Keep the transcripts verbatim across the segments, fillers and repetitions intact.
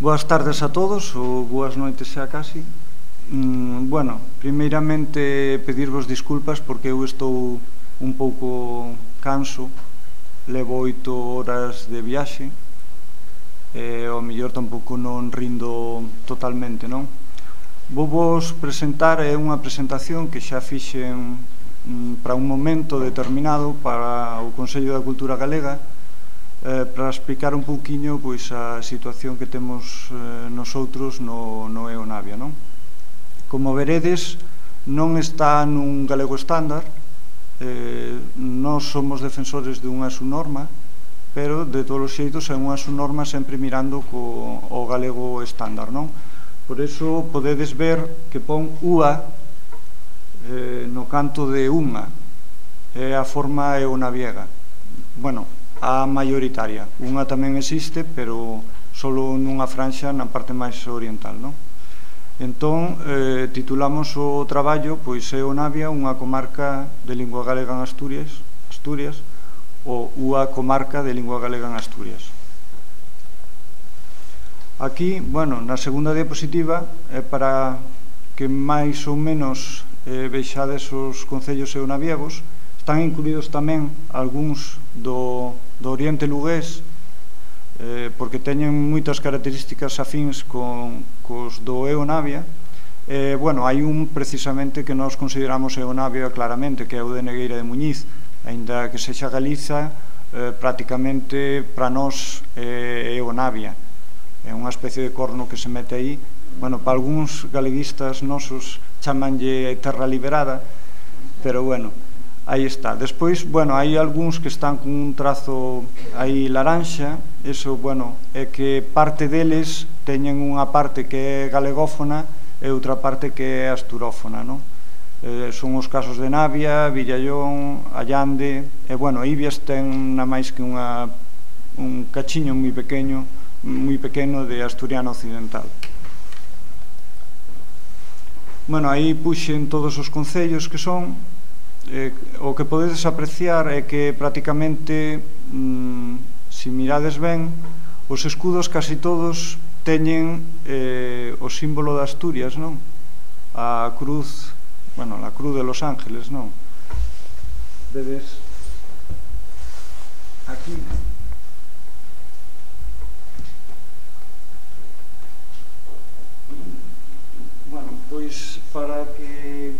Boas tardes a todos, ou boas noites xa casi. Mm, bueno, primeiramente pedirvos disculpas porque eu estou un pouco canso, levo oito horas de viaxe, e ao mellor tampouco non rindo totalmente, non? Vou vos presentar, é unha presentación que xa fixen mm, para un momento determinado para o Consello da Cultura Galega, eh, para explicar un pouquiño pois, a situación que temos eh, nosoutros no, no EONavia, non? Como veredes, non está nun galego estándar, eh, nós somos defensores dunha subnorma, pero de todos os xeitos é unha subnorma sempre mirando co o galego estándar, non? Por iso podedes ver que pon U A eh, no canto de unha, é a forma eonaviega. Bueno, a maioritaria. Unha tamén existe, pero solo nunha franxa na parte máis oriental, non? Entón, eh, titulamos o traballo pois EONavia, unha comarca de lingua galega en Asturias, Asturias, ou unha comarca de lingua galega en Asturias. Aquí, bueno, na segunda diapositiva, é para que máis ou menos eh, vexades os concellos eonaviegos. Están incluídos tamén algúns do, do Oriente Lugués, eh, porque teñen moitas características afíns con, cos do EONavia. Eh, bueno, hai un precisamente que nós consideramos EONavia claramente, que é o de Negueira de Muñiz, aínda que sexa Galiza, eh, prácticamente para nós é EONavia. É unha especie de corno que se mete aí. Bueno, para algúns galeguistas nosos chamanlle terra liberada, pero bueno, aí está. Despois, bueno, hai algúns que están con un trazo aí laranxa. Eso, bueno, é que parte deles teñen unha parte que é galegófona e outra parte que é asturófona, non? Eh, son os casos de Navia, Villallón, Allande, e, bueno, Ibias ten na máis que unha, un cachiño moi pequeno, moi pequeno de asturiano occidental. Bueno, aí puxen todos os concellos que son. Eh, o que podedes apreciar é que prácticamente, mm, se mirades ben, os escudos casi todos teñen eh, o símbolo de Asturias, non? A cruz, bueno, a cruz de Los Ángeles, non? Vedes aquí. Bueno, pois para que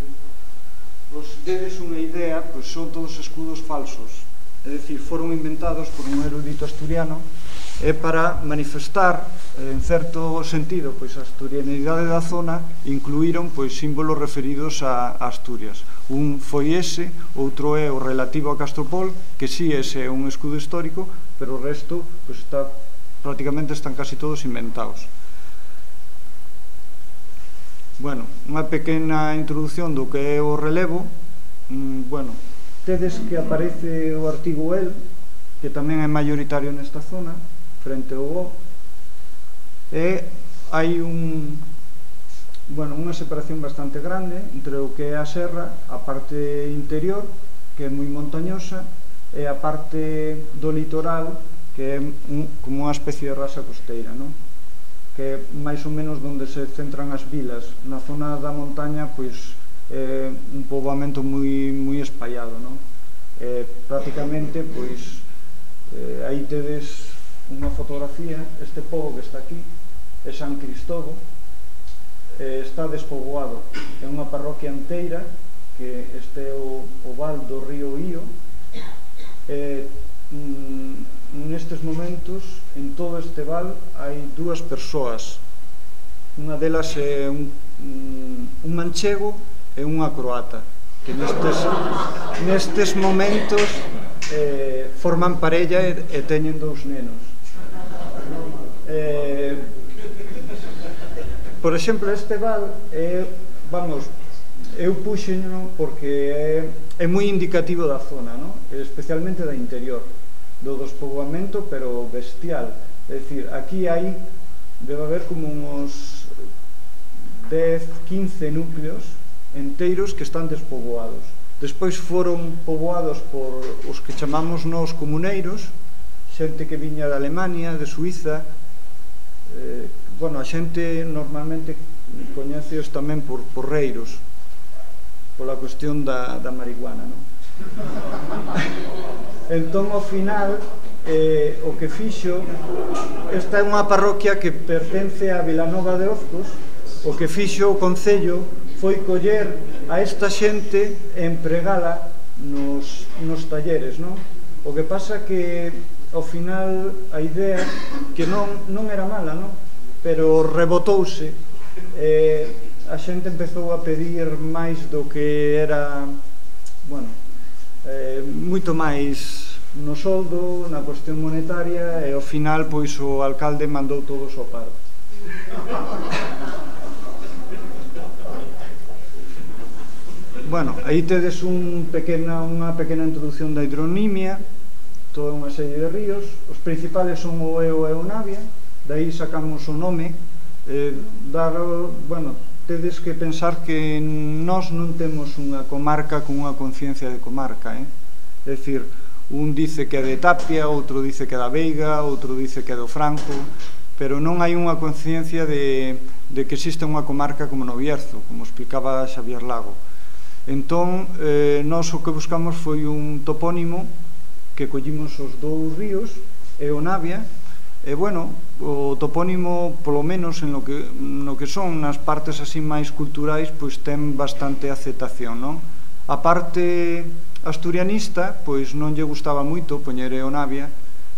vos dedes unha idea, pois son todos escudos falsos, é dicir, foron inventados por un erudito asturiano e para manifestar, en certo sentido, pois a asturianidade da zona, incluíron pois símbolos referidos a Asturias. Un foi ese, outro é o relativo a Castropol, que si ese é un escudo histórico, pero o resto pois está, prácticamente están casi todos inventados. Bueno, unha pequena introducción do que é o relevo. mm, Bueno, tedes que aparece o artigo el, que tamén é maioritario nesta zona, frente ao O, e hai un, bueno, unha separación bastante grande entre o que é a serra, a parte interior, que é moi montañosa, e a parte do litoral, que é un, como unha especie de rasa costeira, non? Que é máis ou menos onde se centran as vilas. Na zona da montaña, pois, é un poboamento moi, moi espallado, non? Eh, prácticamente, pois, eh, aí tedes unha fotografía. Este pobo que está aquí é San Cristobo, eh, está despoboado. É unha parroquia enteira, que este é o, o val do río Ío. Eh, mm, nestes momentos, en todo este val, hai dúas persoas. Unha delas é un, un manchego e unha croata, que nestes, nestes momentos eh, forman parella e, e teñen dous nenos. Eh, por exemplo, este val é, vamos, eu puxeno porque é, é moi indicativo da zona, non? Especialmente da interior, do despoboamento, pero bestial. É dicir, aquí hai, debe haber como uns dez, quince núcleos enteiros que están despoboados. Despois foron poboados por os que chamamos nós comuneiros, xente que viña de Alemania, de Suiza, eh, bueno, a xente normalmente coñeceos tamén por porreiros, pola cuestión da, da marihuana, non? Entón, ao final, eh, o que fixo, esta é unha parroquia que pertence a Vilanova de Ozcos, o que fixo o Concello foi coller a esta xente e empregala nos, nos talleres, non? O que pasa que, ao final, a idea que non, non era mala, non? Pero rebotouse, eh, a xente empezou a pedir máis do que era, bueno, eh, moito máis no soldo, na cuestión monetaria, e ao final, pois, o alcalde mandou todos ao paro. Bueno, aí tedes un pequena, unha pequena introducción da hidronimia, toda unha serie de ríos, os principales son o Eo e o Navia, dai sacamos o nome, eh, dar, bueno, tedes que pensar que nós non temos unha comarca con unha conciencia de comarca, eh? É dicir, un dice que é de Tapia, outro dice que é da Veiga, outro dice que é do Franco, pero non hai unha conciencia de, de que existe unha comarca como no Bierzo, como explicaba Xavier Lago. Entón, eh, nós o que buscamos foi un topónimo que collimos os dous ríos e o Navia, e, bueno, o topónimo, polo menos en lo que, no que son nas partes así máis culturais, pois ten bastante aceptación, non? A parte asturianista, pois non lle gustaba moito poñer Eo Navia,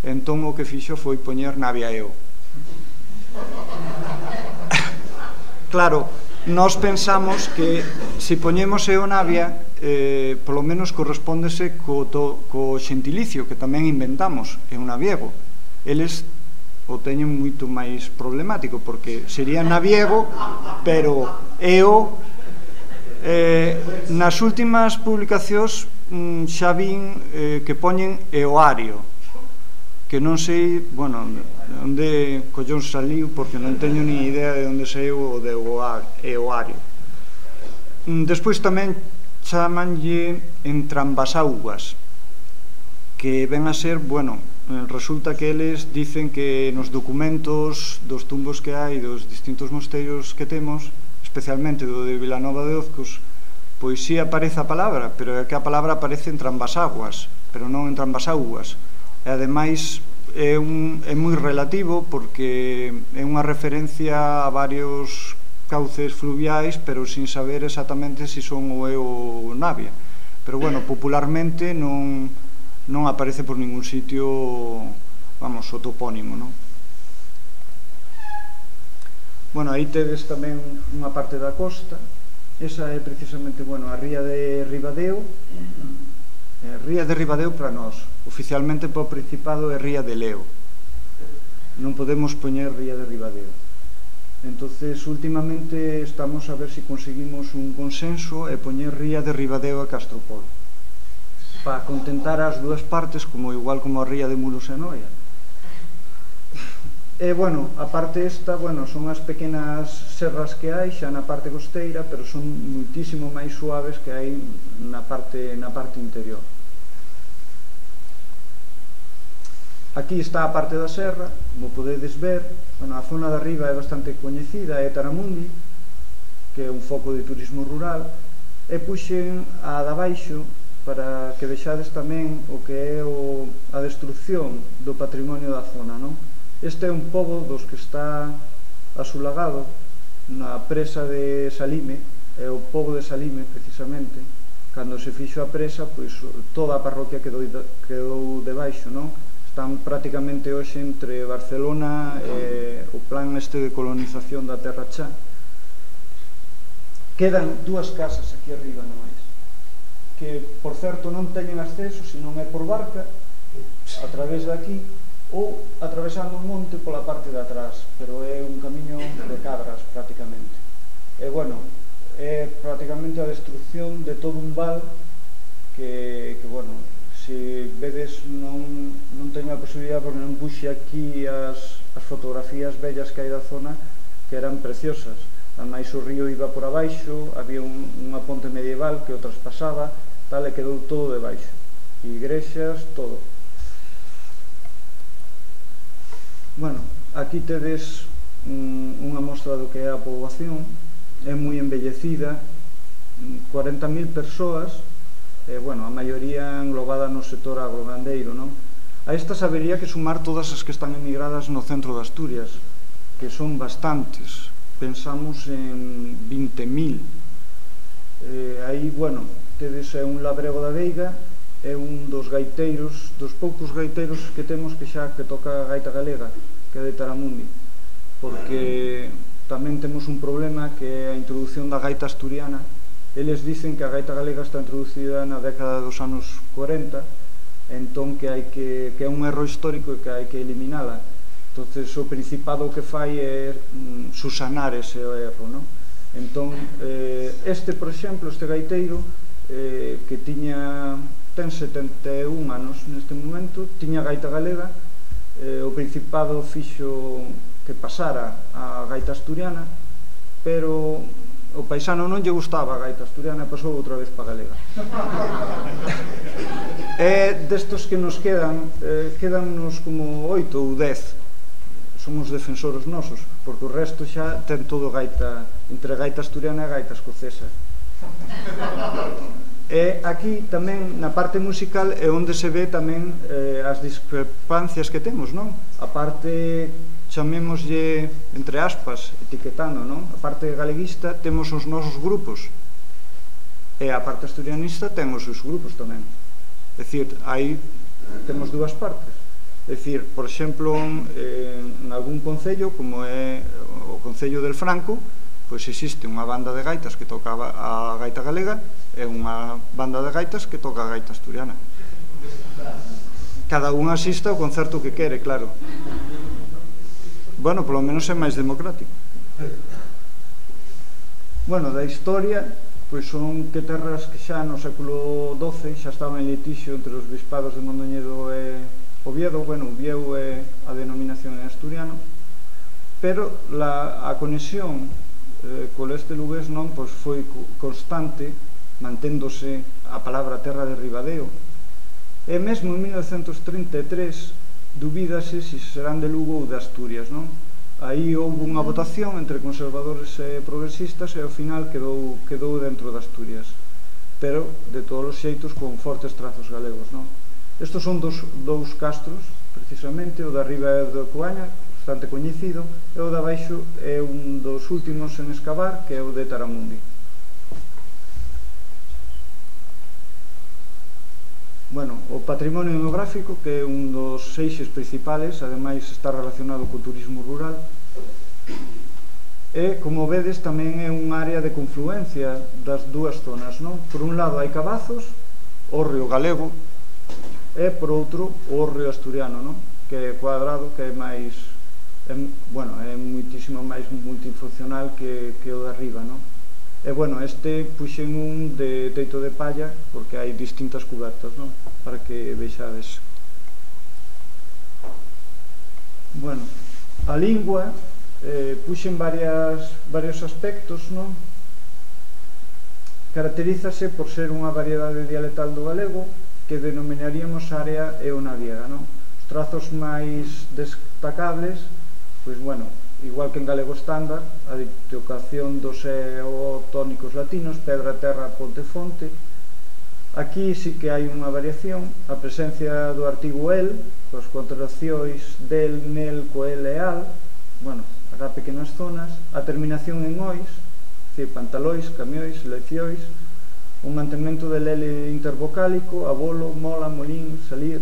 entón o que fixo foi poñer Navia Eo. Claro, nós pensamos que se poñemos Eo Navia, eh, polo menos correspóndese co, to, co xentilicio que tamén inventamos, é un naviego. Eles o teñen moito máis problemático, porque sería naviego, pero Eo, eh, nas últimas publicacións mm, xa vin eh, que poñen Eoario, que non sei, bueno, onde collón saliu, porque non teño ni idea de onde saiu o de Eoario. Despois tamén chamanlle entrambasaugas, que ven a ser, bueno, resulta que eles dicen que nos documentos dos tumbos que hai dos distintos mosteiros que temos, especialmente do de Vilanova de Ozcos, pois si aparece a palabra, pero é que a palabra aparece entrambasaugas, pero non entrambasaugas. E ademais é, un, é moi relativo, porque é unha referencia a varios cauces fluviais, pero sin saber exactamente se son o Eo ou Navia. Pero, bueno, popularmente non, non aparece por ningún sitio, vamos, o topónimo, non? Bueno, aí tedes tamén unha parte da costa, esa é precisamente, bueno, a ría de Ribadeo, eh, ría de Ribadeo para nós, oficialmente para o Principado é ría de Leo, non podemos poñer ría de Ribadeo. Entonces, últimamente estamos a ver se conseguimos un consenso e poñer ría de Ribadeo a Castropol, para contentar as dúas partes, como igual como a ría de Muros e Noia. E, bueno, a parte esta, bueno, son as pequenas serras que hai xa na parte costeira, pero son muitísimo máis suaves que hai na parte, na parte interior. Aquí está a parte da serra, como podedes ver. Bueno, a zona de arriba é bastante coñecida, é Taramundi, que é un foco de turismo rural, e puxen a de abaixo para que vexades tamén o que é o, a destrucción do patrimonio da zona, non? Este é un pobo dos que está asulagado na presa de Salime, é o pobo de Salime, precisamente. Cando se fixo a presa, pois toda a parroquia quedou, quedou debaixo, non? Están prácticamente hoxe entre Barcelona e o plan este de colonización da Terra Chá. Quedan dúas casas aquí arriba nomais, que, por certo, non teñen acceso, senón é por barca, a través de aquí, ou atravesando o monte pola parte de atrás, pero é un camiño de cabras, prácticamente. E, bueno, é prácticamente a destrucción de todo un val que, que bueno, se vedes, non, non teño a posibilidade, porque non puxe aquí as, as fotografías bellas que hai da zona, que eran preciosas. Ademais, o río iba por abaixo, había un, unha ponte medieval que o traspasaba, tal, e quedou todo debaixo. Igrexas, todo. Bueno, aquí tedes unha mostra do que é a poboación, é moi envellecida, cuarenta mil persoas, e, bueno, a maioría englobada no sector agrogandeiro, non? A estas habería que sumar todas as que están emigradas no centro de Asturias, que son bastantes, pensamos en vinte mil. Eh, aí, bueno, tedes é un labrego da Veiga, é un dos gaiteiros, dos poucos gaiteiros que temos que xa que toca a gaita galega, que é de Taramundi, porque tamén temos un problema que é a introducción da gaita asturiana. Eles dicen que a gaita galega está introducida na década dos anos cuarenta, entón que hai que, que é un erro histórico e que hai que eliminala. Entonces o Principado o que fai é mm, susanar ese erro, non? Entón, eh, este, por exemplo, este gaiteiro eh, que tiña ten setenta e un anos neste momento, tiña gaita galega, eh, o Principado fixo que pasara a gaita asturiana, pero o paisano non lle gustaba a gaita asturiana e pasou outra vez para galega. E destos que nos quedan, eh, quedannos como oito ou dez, somos defensores nosos, porque o resto xa ten todo gaita, entre gaita asturiana e gaita escocesa. E aquí tamén, na parte musical, é onde se ve tamén eh, as discrepancias que temos, non? A parte, chamémoslle, entre aspas, etiquetando, non? A parte galeguista temos os nosos grupos, e a parte asturianista ten os seus grupos tamén. É dicir, aí temos dúas partes. É dicir, por exemplo, en algún concello, como é o Concello del Franco, pois existe unha banda de gaitas que toca a gaita galega e unha banda de gaitas que toca a gaita asturiana. Cada un asista ao concerto que quere, claro. Bueno, polo menos é máis democrático. Bueno, da historia, pois son que terras que xa no século doce xa estaban en litixio entre os bispados de Mondoñedo e Oviedo. Bueno, Oviedo é a denominación en asturiano, pero la, a conexión eh, con este lugués non pois foi constante, manténdose a palabra terra de Ribadeo, e mesmo en mil novecentos trinta e tres dubídase se serán de Lugo ou de Asturias, non? Aí houve unha votación entre conservadores e progresistas e ao final quedou, quedou dentro de Asturias, pero de todos os xeitos con fortes trazos galegos, non? Estos son dos, dous castros, precisamente, o da Riba e o de Coaña, bastante coñecido, e o da baixo é un dos últimos en excavar, que é o de Taramundi. Bueno, o patrimonio etnográfico, que é un dos eixes principales, ademais está relacionado co turismo rural, e, como vedes, tamén é un área de confluencia das dúas zonas, non? Por un lado hai Cabazos, o río galego, e por outro o río asturiano, non? Que é cuadrado, que é máis, é, bueno, é muitísimo máis multifuncional que, que o de arriba, non? E, bueno, este puxen un de teito de palla porque hai distintas cubertas, non? Para que vexades. Bueno, a lingua eh, puxen varias, varios aspectos, non? Caracterízase por ser unha variedade dialectal do galego que denominaríamos área eonadiega, non? Os trazos máis destacables, pois, bueno, igual que en galego estándar, a ditocación dos eotónicos latinos, pedra, terra, ponte, fonte. Aquí sí que hai unha variación, a presencia do artigo el, coas contraccións del, nel, coel e al, bueno, habrá pequenas zonas, a terminación en ois, dicir, pantalóis, camióis, leccióis, un mantemento del L intervocálico, abolo, mola, molín, salir,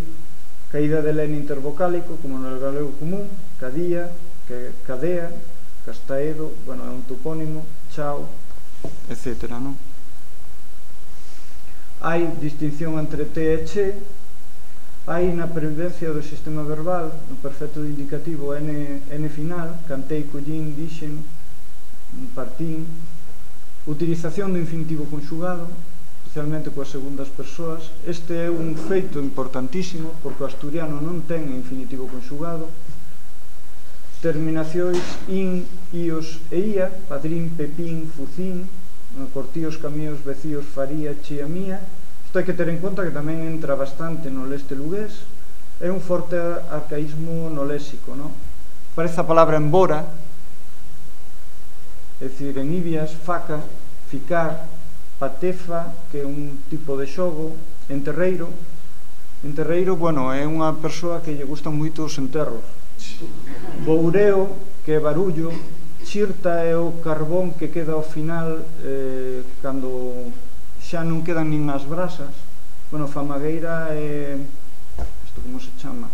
caída del N intervocálico, como no galego común, cadía, que cadea, castaedo, bueno, é un topónimo, chao, etcétera, non? Hai distinción entre T e che, hai na previdencia do sistema verbal, no perfecto indicativo N, N final, cantei, collín, dixen, partín, utilización do infinitivo conxugado, especialmente coas segundas persoas. Este é un feito importantísimo, porque o asturiano non ten infinitivo conxugado. Terminacións in, ios e ia, padrín, pepín, fucín, cortíos, camíos, vecíos, faría, chía, mía. Isto hai que ter en conta que tamén entra bastante no leste lugués. É un forte arcaísmo no léxico, non? Parece a palabra embora, é dicir, en Ibias, faca, ficar, patefa, que é un tipo de xogo, enterreiro. Enterreiro, bueno, é unha persoa que lle gustan moito os enterros. Boureo, que é barullo. Chirta é o carbón que queda ao final eh, cando xa non quedan nin as brasas. Bueno, famagueira é... isto como se chama?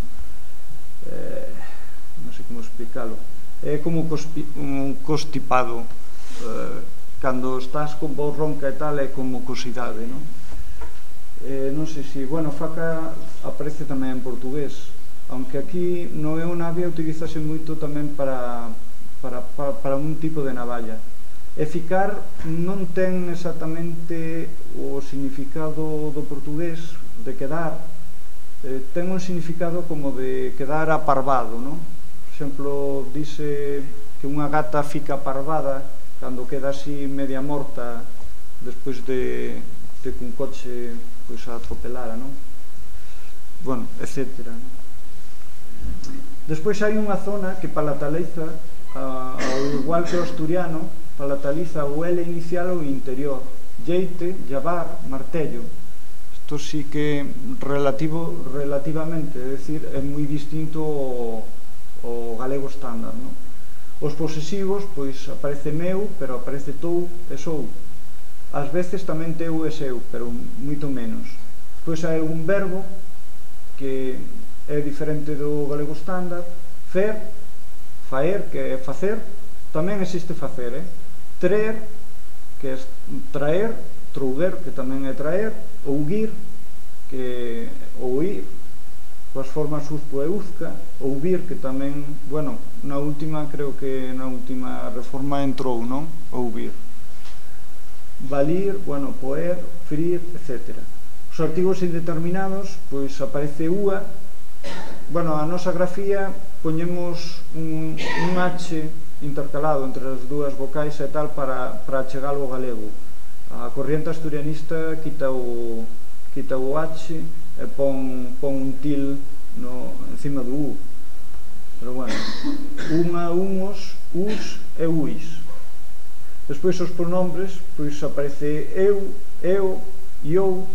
Eh, non sei como explicalo. É como un constipado. Eh, cando estás con voz ronca e tal, é como cosidade, non? Eh, non sei se... Bueno, faca aparece tamén en portugués, aunque aquí no Eonavia utilízase moito tamén para... Para, para, para un tipo de navalla. E ficar non ten exactamente o significado do portugués de quedar, eh, ten un significado como de quedar aparvado, non? Por exemplo, dice que unha gata fica parvada cando queda así media morta despois de, de que un coche pois, a atropelara, non? Bueno, etcétera. Despois hai unha zona que palataliza, Uh, ao igual que o asturiano, palataliza o L inicial ou interior, jeite, llavar, martello. Isto sí que relativo, relativamente, é dicir, é moi distinto ao, ao galego estándar, non? Os posesivos, pois aparece meu, pero aparece tou e sou. Ás veces tamén teu e seu, pero moito menos. Pois hai algún verbo que é diferente do galego estándar. Fer, faer, que é facer, tamén existe facer, eh? Traer, que é traer, trouguer, que tamén é traer, ouguir, que é ouir, coas formas uzco e uzca, ouvir, que tamén, bueno, na última, creo que na última reforma entrou, non? Ouvir. Valir, bueno, poer, frir, etcétera. Os artigos indeterminados, pois aparece ua. Bueno, a nosa grafía poñemos un, un H intercalado entre as dúas vocais e tal para, para chegalo ao galego. A corriente asturianista quita o, quita o H e pon, pon un til no, encima do U. Pero bueno, unha, unhos, us e uis. Despois os pronombres, pois aparece eu, eu, eu,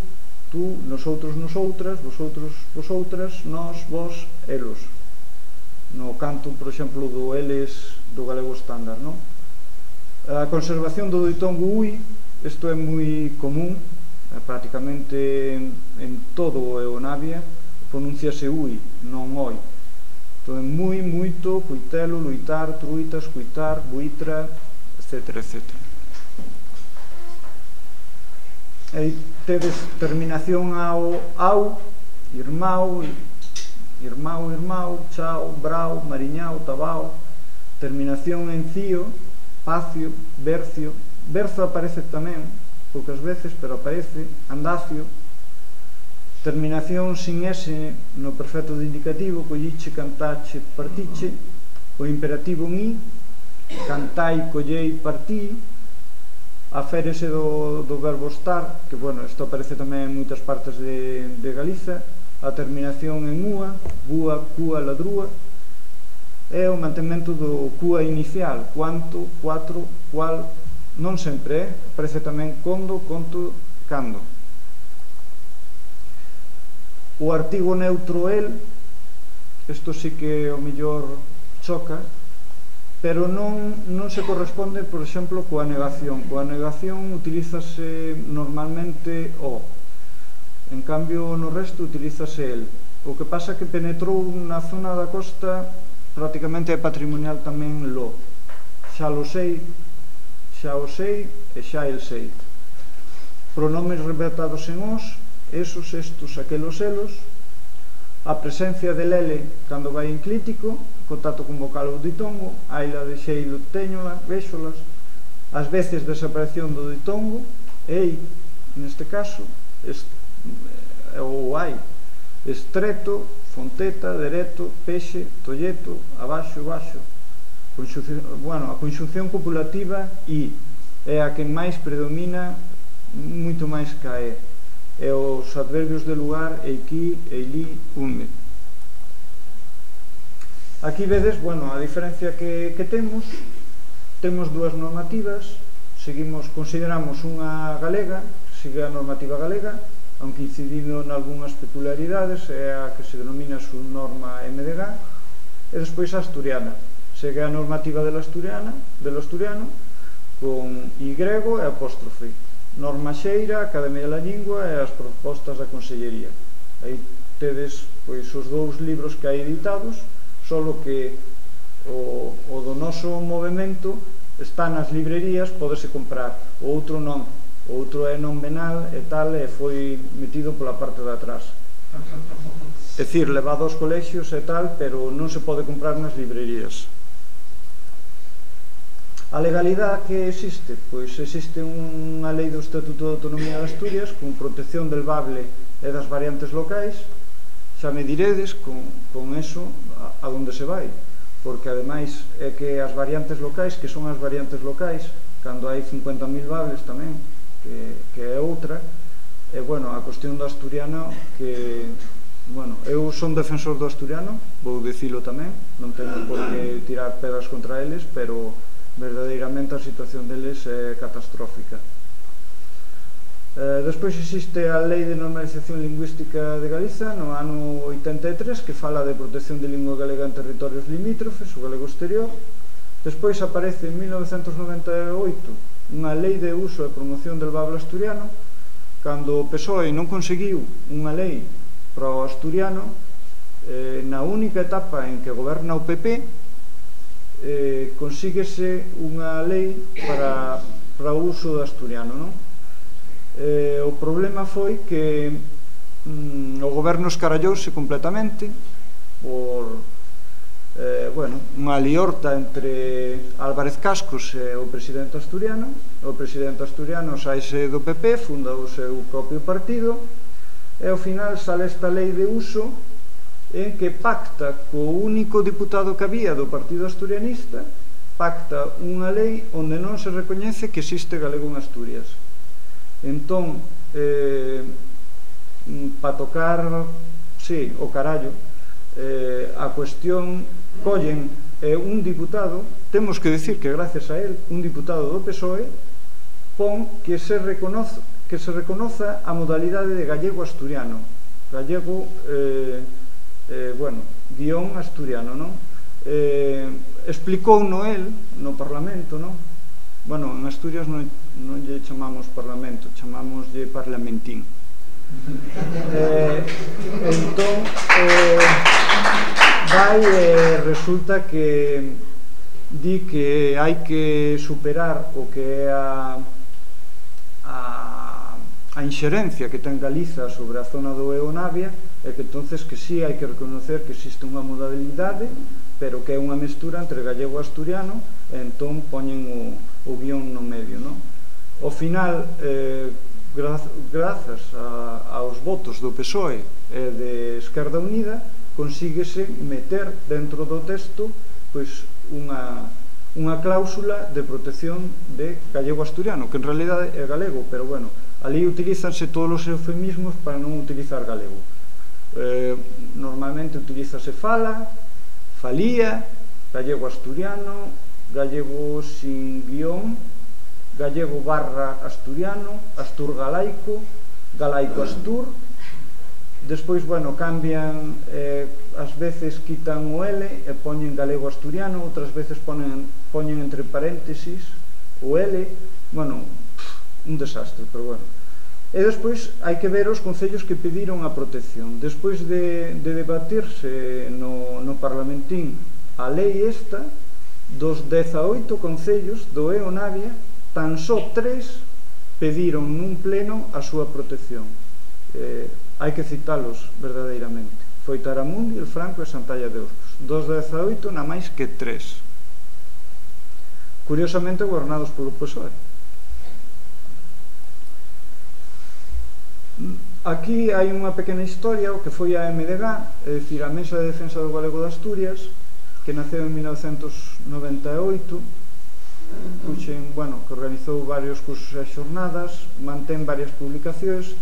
tú, nosotros, nosoutras, vosotros, vosotras, nós, vos, elos. No canto, por exemplo, do eles do galego estándar, non? A conservación do ditongo ui, isto é moi común, prácticamente en, en todo o Eonavia pronunciase ui, non oi. Entón, moi, moito, coitelo, luitar, truitas, coitar, buitra, etcétera, etcétera. E tedes terminación ao au, irmão, irmão, irmão, chao, brao, mariñao, tabao. Terminación en cío, pacio, bercio. Berzo aparece tamén, poucas veces, pero aparece. Andacio. Terminación sin S no perfecto de indicativo, colliche, cantache, partiche. O imperativo en i, cantai, collei, partí. Aférese do, do verbo estar, que, bueno, isto aparece tamén en moitas partes de, de Galiza. A terminación en ua, búa, cúa, ladrúa, é o mantemento do cúa inicial, cuanto, cuatro, cual, non sempre, eh? Aparece tamén condo, conto, cando. O artigo neutro el, isto sí que o mellor choca, pero non, non se corresponde, por exemplo, coa negación. Coa negación utilízase normalmente o. En cambio, no resto utilízase el. O que pasa que penetrou na zona da costa, prácticamente é patrimonial tamén lo. Xa lo sei, xa o sei e xa el sei. Pronomes revertados en os, esos, estos, aquelos, elos. A presencia del ele cando vai enclítico, contacto con vocal ou ditongo, aila de xeilo, teñola, véxolas. As veces desaparición do ditongo, ei, neste caso, este, ou hai, estreto, fonteta, dereto, pexe, tolleto, abaixo, baixo. Bueno, a conxunción copulativa i é a que máis predomina, moito máis que a e. E os adverbios de lugar, eiki, eili, unme. Aquí vedes, bueno, a diferencia que, que temos, temos dúas normativas, seguimos, consideramos unha galega, sigue a normativa galega, aunque incidindo en algunhas peculiaridades, é a que se denomina su norma M D G, e despois a asturiana, segue a normativa del asturiano, del asturiano, con Y e apóstrofe, norma xeira, Academia da Lingua e as propostas da Consellería. Aí tedes pois os dous libros que hai editados, solo que o, o do noso movimento está nas librerías, podese comprar, o outro non, o outro é non venal e tal, e foi metido pola parte de atrás. É dicir, levado aos colexios e tal, pero non se pode comprar nas librerías. A legalidade que existe? Pois existe unha lei do Estatuto de Autonomía de Asturias con protección del bable e das variantes locais. Xa me diredes con, con eso a, a donde se vai, porque ademais é que as variantes locais, que son as variantes locais, cando hai cincuenta mil bables tamén, que, que é outra, e bueno, a cuestión do asturiano, que, bueno, eu son defensor do asturiano, vou dicilo tamén, non teño por que tirar pedras contra eles, pero verdadeiramente a situación deles é catastrófica. Eh, despois existe a Lei de Normalización Lingüística de Galiza no ano oitenta e tres, que fala de protección de lingua galega en territorios limítrofes, o galego exterior. Despois aparece en mil novecentos noventa e oito unha Lei de Uso e Promoción del Bable Asturiano, cando o P S O E non conseguiu unha lei para o asturiano, eh, na única etapa en que goberna o P P, Eh, consíguese unha lei para, para o uso do asturiano, non? Eh, o problema foi que mm, o goberno escarallouse completamente por eh, bueno, unha liorta entre Álvarez Cascos e o presidente asturiano. O presidente asturiano saíse do P P, funda o seu propio partido, e ao final sale esta lei de uso en que pacta co único diputado que había do Partido Asturianista, pacta unha lei onde non se recoñece que existe galego en Asturias. Entón, eh, para tocar, sí, o carallo, eh, a cuestión, collen eh, un diputado, temos que decir que gracias a él, un diputado do P S O E, pon que se reconoza, que se reconoza a modalidade de gallego asturiano, gallego, eh, Eh, bueno, guión asturiano, non? Eh, explicou no el, no Parlamento, non? Bueno, en Asturias non, non lle chamamos Parlamento, chamámoslle Parlamentín. Eh, entón, eh, vai e resulta que di que hai que superar o que é a, a, a inxerencia que ten Galiza sobre a zona do Eo Navia, e que entonces que sí hai que reconocer que existe unha modalidade, pero que é unha mestura entre gallego e asturiano, e entón poñen o, o guión no medio, non? Ao final, eh, gra grazas a, aos votos do P S O E e de Esquerda Unida, consíguese meter dentro do texto pois unha, unha cláusula de protección de gallego asturiano, que en realidade é galego, pero bueno, ali utilízanse todos os eufemismos para non utilizar galego. Eh, normalmente utilízase fala, falía, gallego asturiano, gallego sin guión, gallego barra asturiano, astur galaico, galaico astur. Despois, bueno, cambian, eh, ás veces quitan o L e poñen galego asturiano, outras veces ponen, poñen entre paréntesis o L, bueno, un desastre, pero bueno. E despois hai que ver os concellos que pediron a protección. Despois de, de debatirse no, no Parlamentín a lei esta, dos dezaoito concellos do Eo Navia, tan só tres pediron nun pleno a súa protección. Eh, hai que citalos verdadeiramente. Foi Taramundi, El Franco e Santalla de Orcos. Dos dezaoito na máis que tres. Curiosamente gobernados polo P S O E. Aquí hai unha pequena historia, o que foi a M D G, é dicir, a Mesa de Defensa do Galego de Asturias, que naceu en mil novecentos noventa e oito, puxen, bueno, que organizou varios cursos e xornadas, mantén varias publicacións.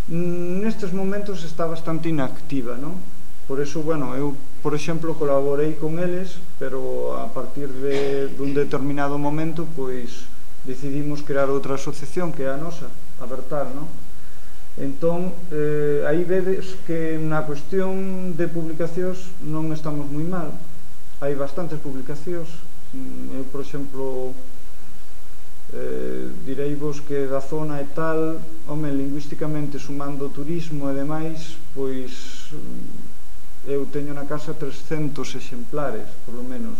Nestes momentos está bastante inactiva, non? Por eso, bueno, eu por exemplo, colaborei con eles, pero a partir de dun determinado momento, pois, decidimos crear outra asociación que é a nosa, a Bertal, non? Entón, eh, aí vedes que na cuestión de publicacións non estamos moi mal. Hai bastantes publicacións. Eu, por exemplo, eh, direivos que da zona e tal, home, lingüísticamente, sumando turismo e demais, pois eu teño na casa trescentos exemplares, por lo menos.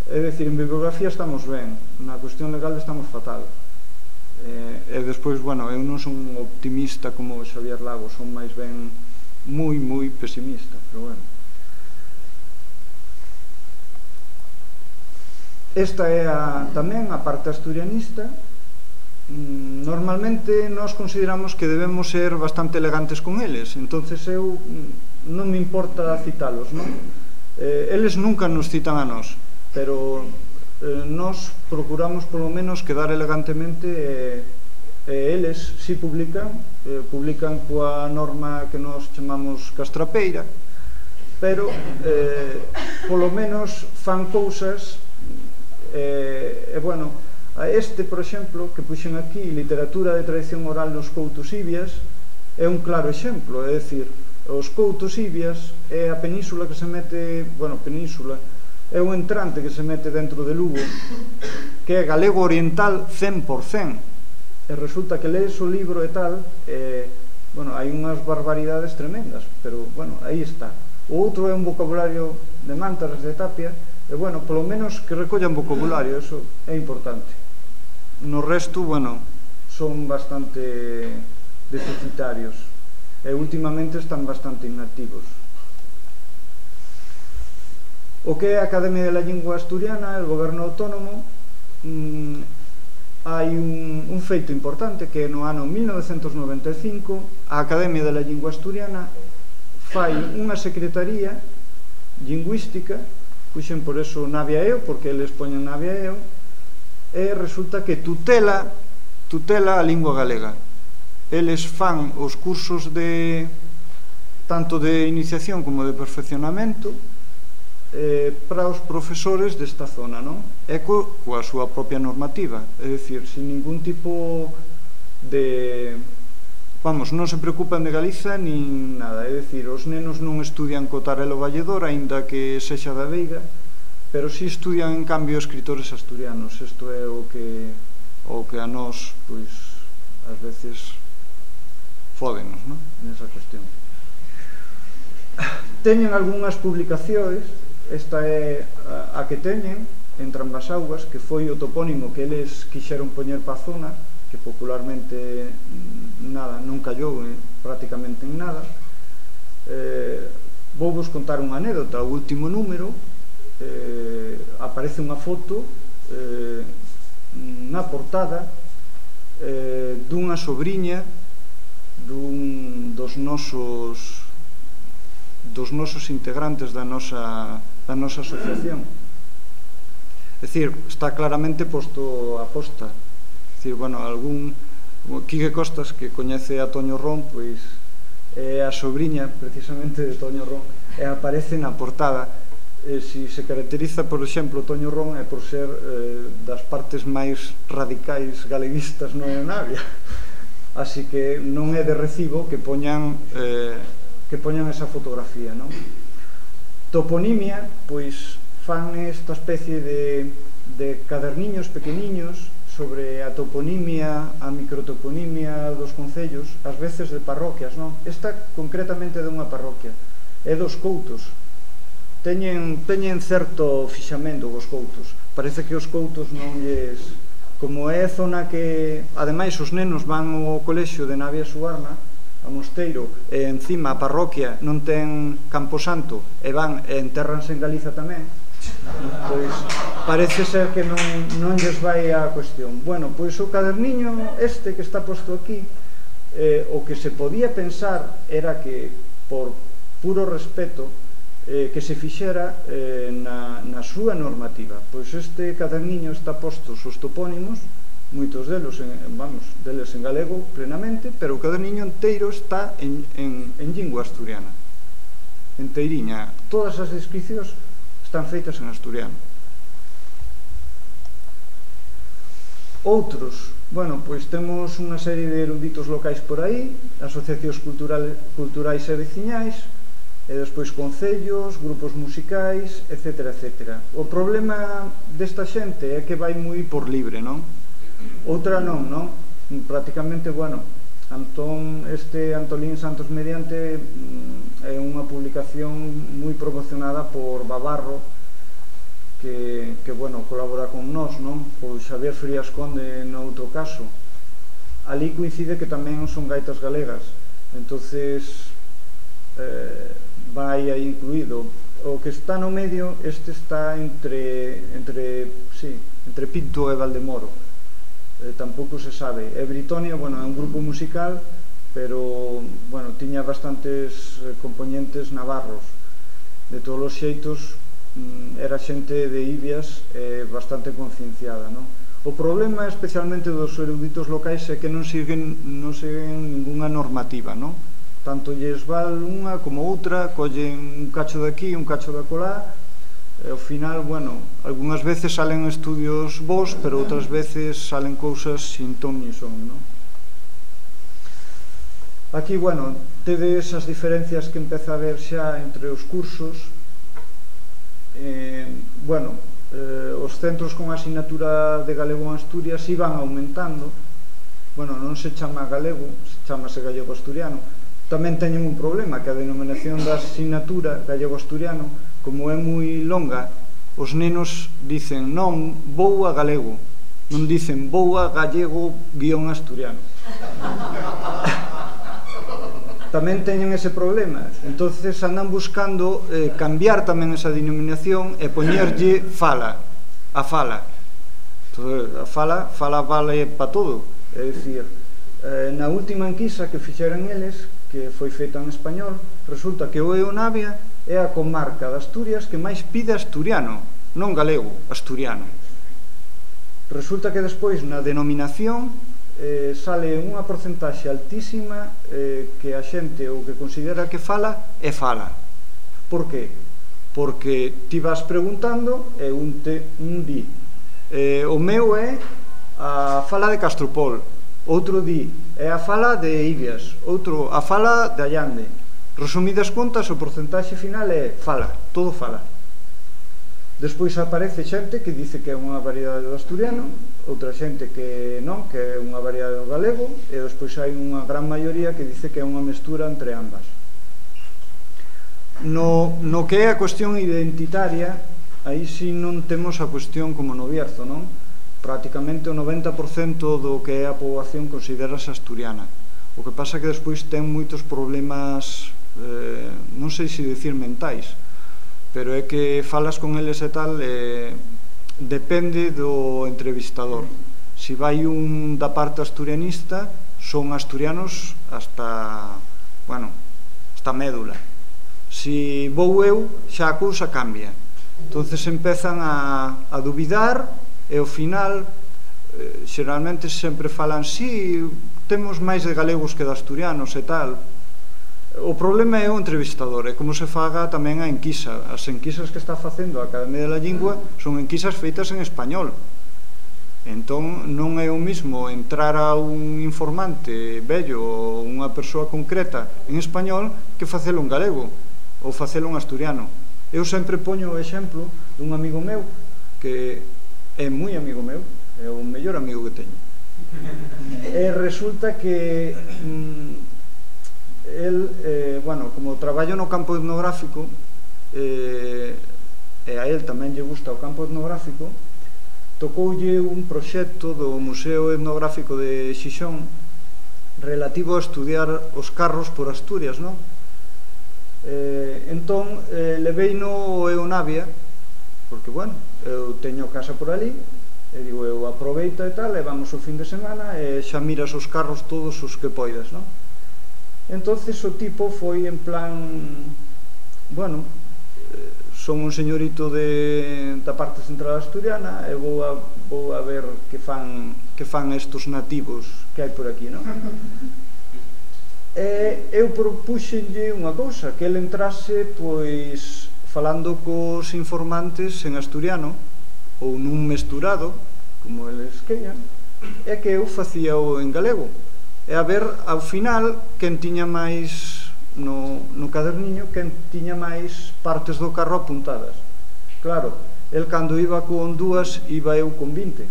É dicir, en bibliografía estamos ben, na cuestión legal estamos fatal. E despois, bueno, eu non son optimista como Xavier Lago, son máis ben moi, moi pesimista, pero bueno. Esta é a, tamén a parte asturianista. Normalmente nós consideramos que debemos ser bastante elegantes con eles, entonces eu non me importa citalos, non? Eh, eles nunca nos citan a nós, pero eh, nós procuramos polo menos quedar elegantemente e eh, eles si publican, eh, publican coa norma que nós chamamos castrapeira, pero eh, polo menos fan cousas e, eh, bueno, a este, por exemplo, que puxen aquí, literatura de tradición oral nos Coutos Ibias, é un claro exemplo, é dicir, os Coutos Ibias é a península que se mete, bueno, península, é un entrante que se mete dentro de Lugo, que é galego oriental cen por cen, e resulta que lees o libro e tal, e, bueno, hai unhas barbaridades tremendas, pero, bueno, aí está. O outro é un vocabulario de Mántaras, de Tapia, e, bueno, polo menos que recollan vocabulario, eso é importante. No resto, bueno, son bastante deficitarios, e últimamente están bastante inactivos. O que é a Academia de la Lingua Asturiana, el goberno autónomo, mmm, hai un, un feito importante que no ano mil novecentos noventa e cinco a Academia de la Lingua Asturiana fai unha secretaría lingüística, puxen por eso Navia E O, porque eles poñen Navia E O, e resulta que tutela tutela a lingua galega. Eles fan os cursos de tanto de iniciación como de perfeccionamento eh, para os profesores desta zona, non? E co, coa súa propia normativa, é dicir, sin ningún tipo de... Vamos, non se preocupan de Galiza nin nada, é dicir, os nenos non estudian co Tarelo Valledor, aínda que sexa da Veiga, pero si estudian, en cambio, escritores asturianos. Isto é o que, o que a nós, pois, ás veces, fódenos, non? Nesa cuestión. Teñen algunhas publicacións, esta é a, a que teñen, entre ambas augas, que foi o topónimo que eles quixeron poñer pa zona, que popularmente nada, non callou eh, prácticamente en nada. Eh, vou vos contar unha anécdota. O último número eh, aparece unha foto eh, na portada eh, dunha sobriña dun dos nosos dos nosos integrantes da nosa da nosa asociación. É dicir, está claramente posto a posta. É dicir, bueno, algún Quique Costas, que coñece a Toño Ron, pois é a sobriña precisamente de Toño Ron, e aparece na portada. E si se caracteriza, por exemplo, Toño Ron é por ser eh, das partes máis radicais galeguistas no Navia, así que non é de recibo que poñan eh, que poñan esa fotografía, non? Toponimia, pois fan esta especie de, de caderniños pequeniños sobre a toponimia, a microtoponimia dos concellos, ás veces de parroquias, non? Esta concretamente de unha parroquia, é dos Coutos. Teñen, teñen certo fixamento os Coutos. Parece que os Coutos non lles... Como é zona que, ademais, os nenos van ao colexio de Navia Suarna, a Mosteiro, e encima a parroquia non ten Camposanto, e van e entérranse en Galiza tamén, pois parece ser que non, non lles vai a cuestión. Bueno, pois o caderniño este que está posto aquí, eh, o que se podía pensar era que, por puro respeto, eh, que se fixera eh, na, na súa normativa. Pois este caderniño está postos os topónimos, moitos delos, en, vamos, deles en galego plenamente, pero o caderniño inteiro está en, en, en lingua asturiana. enteiriña. Todas as descripcións están feitas en asturiano. Outros, bueno, pois temos unha serie de eruditos locais por aí, asociacións culturais e veciñais, e despois concellos, grupos musicais, etcétera, etcétera. O problema desta xente é que vai moi por libre, non? Outra non, non? Prácticamente, bueno, Antón, este Antolín Santos Mediante é unha publicación moi promocionada por Babarro, que, que bueno, colabora con nós, non? O Xavier Frías Conde no outro caso. Ali coincide que tamén son gaitas galegas, entonces eh, vai aí incluído. O que está no medio, este está entre, entre, sí, entre Pinto e Valdemoro. Eh, tampouco se sabe. E Britonia, bueno, é un grupo musical, pero, bueno, tiña bastantes componentes navarros. De todos os xeitos, era xente de Ibias eh, bastante concienciada, non? O problema especialmente dos eruditos locais é que non siguen, non siguen ninguna normativa, non? Tanto lles val unha como outra, collen un cacho de aquí, un cacho de acolá, e ao final, bueno, algunhas veces salen estudios bons, pero outras veces salen cousas sin ton ni son, non? Aquí, bueno, tedes as diferencias que empeza a haber xa entre os cursos. Eh, bueno, eh, os centros con asignatura de galego en Asturias iban aumentando. Bueno, non se chama galego, chamase gallego-asturiano. Tamén teñen un problema, que a denominación da asignatura gallego-asturiano, como é moi longa, os nenos dicen non, vou a galego, non dicen vou a gallego-asturiano. Tamén teñen ese problema, entonces andan buscando eh, cambiar tamén esa denominación e poñerlle fala, a fala. Entonces, a fala, fala vale para todo, é dicir, eh, na última enquisa que fixeran eles, que foi feita en español, resulta que o Eonavia é a comarca de Asturias que máis pide asturiano, non galego, asturiano. Resulta que despois na denominación Eh, sale unha porcentaxe altísima eh, que a xente o que considera que fala é fala. Por qué? Porque ti vas preguntando e un, te, un di eh, o meu é a fala de Castropol, outro di é a fala de Ibias, outro a fala de Allande. Resumidas contas, o porcentaxe final é fala, todo fala. Despois aparece xente que dice que é unha variedade do asturiano, outra xente que non, que é unha variedade do galego, e despois hai unha gran maioría que dice que é unha mestura entre ambas. No, no que é a cuestión identitaria, aí si non temos a cuestión como no Bierzo, non? Prácticamente o noventa por cento do que é a poboación considerase asturiana. O que pasa que despois ten moitos problemas, eh, non sei se dicir mentais, pero é que falas con eles e tal, eh, depende do entrevistador. Si vai un da parte asturianista, son asturianos hasta, bueno, hasta médula. Si vou eu, xa a cousa cambia. Entonces empezan a, a dubidar e ao final, eh, xeralmente sempre falan, si, temos máis de galegos que de asturianos e tal. O problema é o entrevistador, é como se faga tamén a enquisa. As enquisas que está facendo a Academia da Lingua son enquisas feitas en español. Entón non é o mismo entrar a un informante vello ou unha persoa concreta en español que facelo en galego ou facelo en asturiano. Eu sempre poño o exemplo dun amigo meu que é moi amigo meu, é o mellor amigo que teño. E resulta que mmm, el, eh, bueno, como traballo no campo etnográfico, eh, e a el tamén lle gusta o campo etnográfico, tocoulle un proxecto do Museo Etnográfico de Xixón relativo a estudiar os carros por Asturias, non? Eh, entón, eh, levei no Eonavia, porque, bueno, eu teño casa por ali, e digo, eu aproveito e tal, e vamos o fin de semana, e xa miras os carros todos os que poidas, non? Entonces o tipo foi en plan, bueno, son un señorito de, da parte central asturiana e vou a, vou a ver que fan, que fan estos nativos que hai por aquí, non? E eu propuxenlle unha cousa, que ele entrase, pois, falando cos informantes en asturiano, ou nun mesturado, como eles queian, e que eu facía o en galego. E a ver, ao final, quen tiña máis no, no caderniño, quen tiña máis partes do carro apuntadas. Claro, el cando iba con dúas, iba eu con vinte.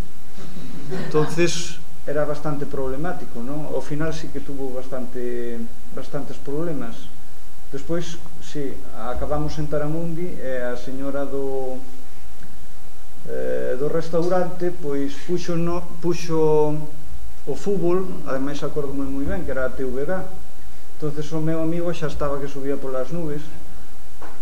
Entonces, era bastante problemático, non? Ao final sí que tuvo bastante, bastantes problemas. Despois, sí, acabamos en Taramundi e a señora do, eh, do restaurante pois puxo, no, puxo o fútbol, ademais acordo moi moi ben, que era a T V G. Entonces o meu amigo xa estaba que subía polas nubes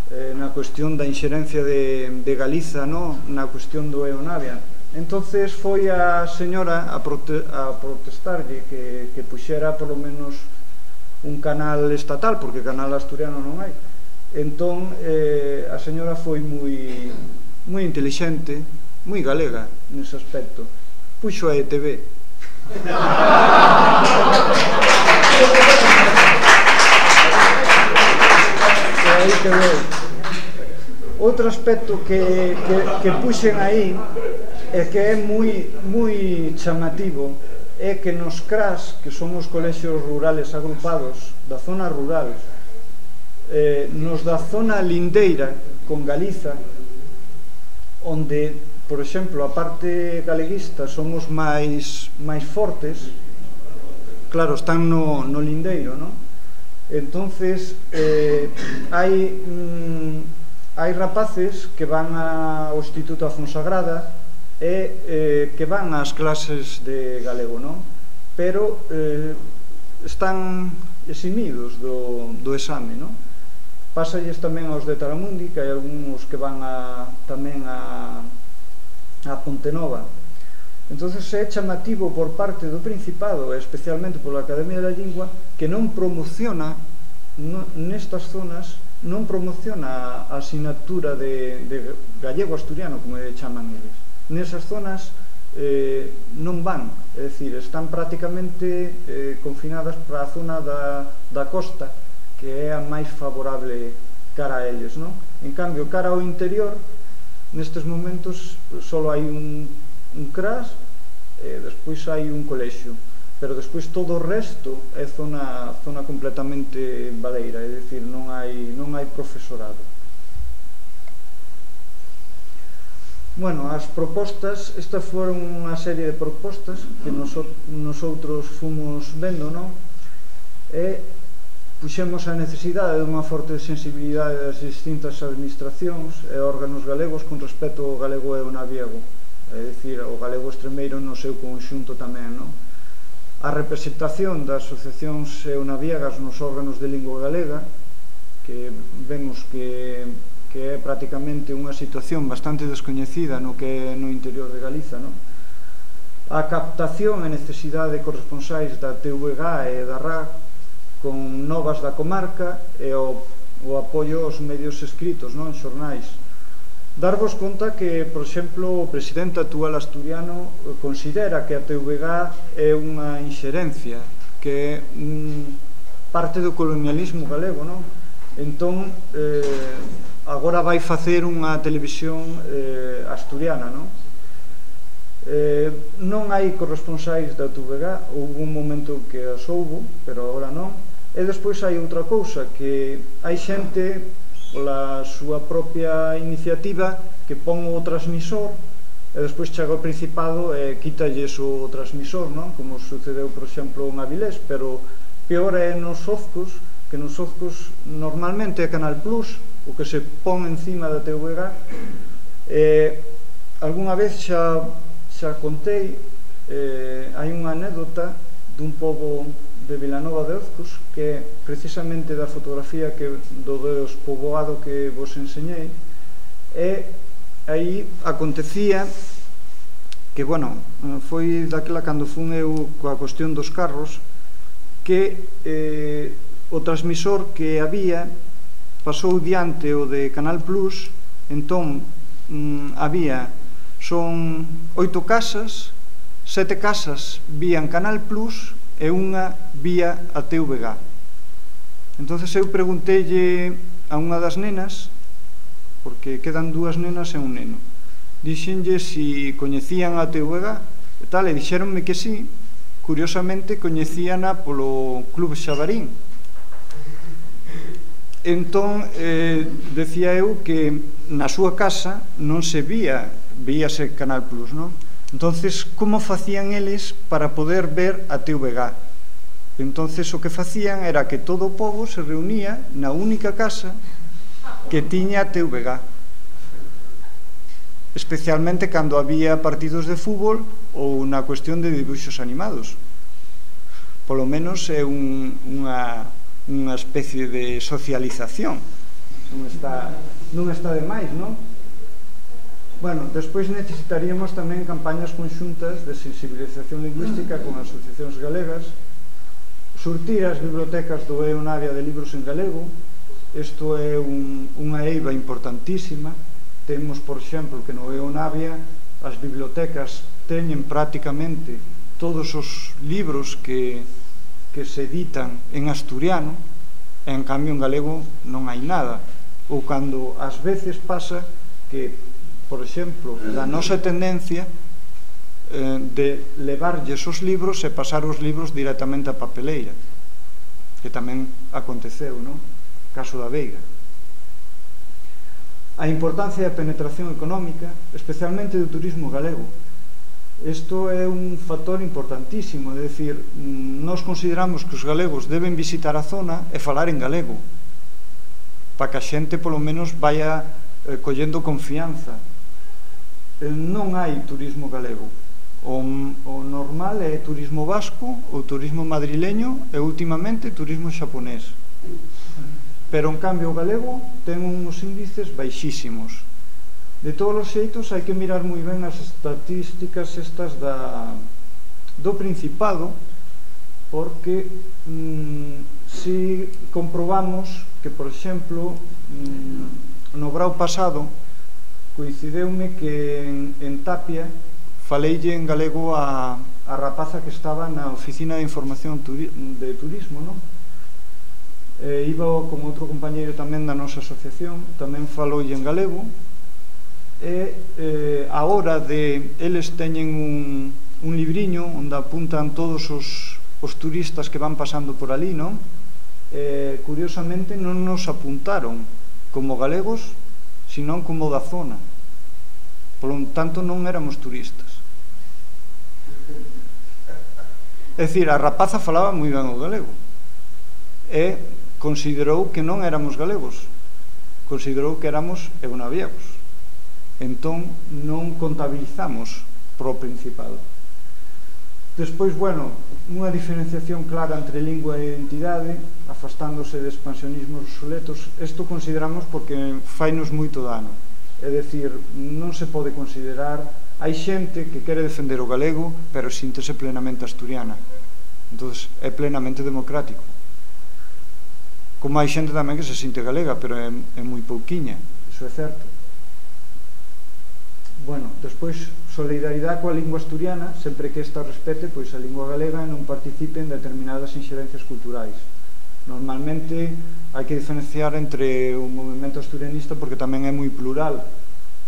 eh, na cuestión da inxerencia de, de Galiza, no? Na cuestión do Eonavia. Entonces foi a señora a, prote a protestarlle que, que puxera polo menos un canal estatal, porque canal asturiano non hai. Entón eh, a señora foi moi moi intelixente, moi galega nese aspecto. Puxo a E T V. E aí quedou. Outro aspecto que, que, que puxen aí e que é moi, moi chamativo é que nos C R A S, que son os colexios rurales agrupados da zona rural, eh, nos da zona lindeira con Galiza, onde, por exemplo, a parte galeguista somos máis, máis fortes, claro, están no, no lindeiro, non? Entonces, eh, hai, mm, hai rapaces que van ao Instituto da Fonsagrada e eh, que van ás clases de galego, non? Pero eh, están eximidos do, do exame, non? Pásalles tamén aos de Taramundi, que hai algúns que van a, tamén a, a Pontenova. Entonces é chamativo por parte do Principado, especialmente pola Academia da Lingua, que non promociona no, nestas zonas, non promociona a asignatura de, de gallego-asturiano, como le chaman eles. Nesas zonas eh, non van, é dicir, están prácticamente eh, confinadas para a zona da, da costa, que é a máis favorable cara a eles, non? En cambio, cara ao interior, nestes momentos só hai un, un C R A S e despois hai un colexio, pero despois todo o resto é zona, zona completamente baleira, é dicir, non hai, non hai profesorado. Bueno, as propostas, estas foron unha serie de propostas que nosotros fomos vendo, non? E puxemos a necesidade dunha forte sensibilidade das distintas administracións e órganos galegos con respecto ao galego e ao naviego, é dicir, o galego extremeiro no seu conxunto tamén, non? A representación das asociacións eonaviegas nos órganos de lingua galega, que vemos que que é prácticamente unha situación bastante descoñecida no que é no interior de Galiza, non? A captación e necesidade de corresponsais da T V G e da R A C con novas da comarca e o, o apoio aos medios escritos, non? Xornais. Darvos conta que, por exemplo, o presidente actual asturiano considera que a T V G é unha inxerencia, que é mm, parte do colonialismo galego, non? Entón, eh, agora vai facer unha televisión eh, asturiana, non? Eh, non hai corresponsais da T V G, houve un momento que as houbo, pero agora non. E despois hai outra cousa, que hai xente pola súa propia iniciativa que pon o transmisor e despois chega o Principado e quítalles o transmisor, non? Como sucedeu, por exemplo, en Avilés, pero peor é nos Ozcos, que nos Ozcos normalmente é Canal Plus, o que se pon encima da T V G. Eh, algunha vez xa, xa contei, eh, hai unha anécdota dun pobo de Vilanova de Ozcos, que é precisamente da fotografía que, do despoboado que vos enseñei, e aí acontecía que, bueno, foi daquela cando fun eu coa cuestión dos carros, que eh, o transmisor que había pasou diante o de Canal Plus, entón mm, había, son oito casas, sete casas vían Canal Plus e unha vía a T V G. Entonces eu pregunteille a unha das nenas, porque quedan dúas nenas e un neno, dixenlle si coñecían a T V G e tal, e dixeronme que sí. Curiosamente coñecíana polo Club Xabarín. Entón, eh, decía eu que na súa casa non se vía, víase Canal Plus, non? Entonces, como facían eles para poder ver a T V G? Entonces, o que facían era que todo o pobo se reunía na única casa que tiña a T V G. Especialmente cando había partidos de fútbol ou na cuestión de dibuixos animados. Polo menos é un, unha, unha especie de socialización. Non está, non está de máis, non? Bueno, despois necesitaríamos tamén campañas conxuntas de sensibilización lingüística con asociacións galegas, surtir as bibliotecas do E O Navia de libros en galego. Isto é un, unha eiva importantísima. Temos, por exemplo, que no E O Navia as bibliotecas teñen prácticamente todos os libros que, que se editan en asturiano, e en cambio en galego non hai nada. Ou cando ás veces pasa que, por exemplo, da nosa tendencia eh, de levarlles os libros e pasar os libros directamente a papeleira, que tamén aconteceu, non? Caso da Veiga. A importancia da penetración económica, especialmente do turismo galego. Isto é un factor importantísimo, é dicir, nós consideramos que os galegos deben visitar a zona e falar en galego, para que a xente polo menos vaya eh, collendo confianza. Eh, non hai turismo galego. O, o normal é turismo vasco, o turismo madrileño e últimamente turismo xaponés. Pero en cambio o galego ten uns índices baixísimos. De todos os xeitos hai que mirar moi ben as estatísticas estas da, do Principado, porque mm, si comprobamos que, por exemplo, mm, no grau pasado coincideume que en, en Tapia faleille en galego a, a rapaza que estaba na oficina de información turi, de turismo, non? Eh, iba con outro compañeiro tamén da nosa asociación, tamén faloulle en galego, e eh, a hora de eles teñen un, un libriño onde apuntan todos os, os turistas que van pasando por ali, non? Eh, curiosamente non nos apuntaron como galegos, senón como da zona. Por lo tanto, non éramos turistas. É dicir, a rapaza falaba moi ben o galego e considerou que non éramos galegos, considerou que éramos eonaviegos. Entón, non contabilizamos pro Principado. Despois, bueno, unha diferenciación clara entre lingua e identidade, afastándose de expansionismos obsoletos. Isto consideramos porque fainos moito dano. É dicir, non se pode considerar... Hai xente que quere defender o galego, pero síntese plenamente asturiana. Entón, é plenamente democrático. Como hai xente tamén que se sinte galega, pero é, é moi pouquiña, iso é certo. Bueno, despois, solidaridade coa lingua asturiana, sempre que esta respete pois a lingua galega e non participe en determinadas inxerencias culturais. Normalmente hai que diferenciar entre o movimento asturianista porque tamén é moi plural.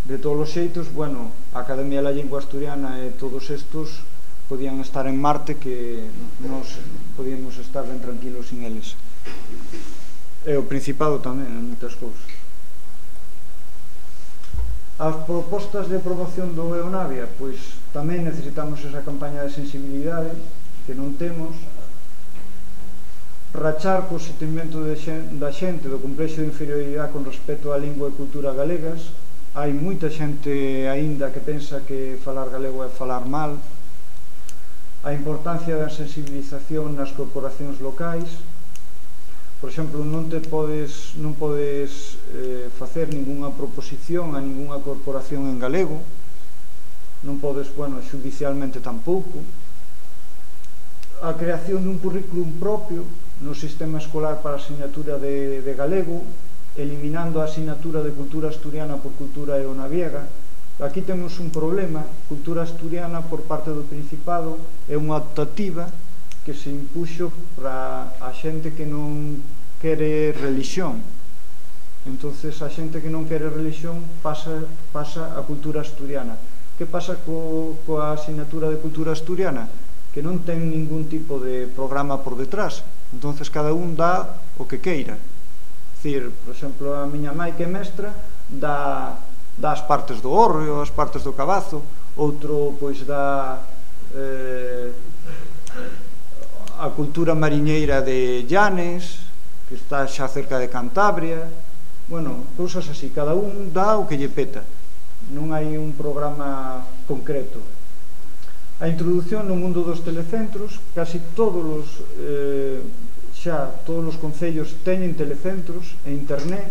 De todos os xeitos, bueno, a Academia da Lingua Asturiana e todos estos podían estar en Marte, que nos podíamos estar ben tranquilos sin eles. E o Principado tamén, en moitas cousas. As propostas de promoción do E O Navia, pois tamén necesitamos esa campaña de sensibilidade que non temos. Rachar co sentimento de xen, da xente do complexo de inferioridade con respecto á lingua e cultura galegas. Hai moita xente aínda que pensa que falar galego é falar mal. A importancia da sensibilización nas corporacións locais. Por exemplo, non te podes, non podes eh, facer ningunha proposición a ningunha corporación en galego. Non podes, bueno, xudicialmente tampouco. A creación dun currículum propio no sistema escolar para a asignatura de, de galego, eliminando a asignatura de cultura asturiana por cultura eonaviega. Aquí temos un problema. Cultura asturiana por parte do Principado é unha optativa que se impuxo para a xente que non quere religión. Entonces a xente que non quere religión pasa, pasa a cultura asturiana. Que pasa co, coa asignatura de cultura asturiana? Que non ten ningún tipo de programa por detrás. Entonces cada un dá o que queira. Dicir, por exemplo, a miña mãe que é mestra dá, dá as partes do hórreo, as partes do cabazo, outro pois dá eh, a cultura mariñeira de Llanes, que está xa cerca de Cantabria. Bueno, cousas así, cada un dá o que lle peta, non hai un programa concreto. A introdución no mundo dos telecentros, casi todos os eh, xa todos os concellos teñen telecentros e internet.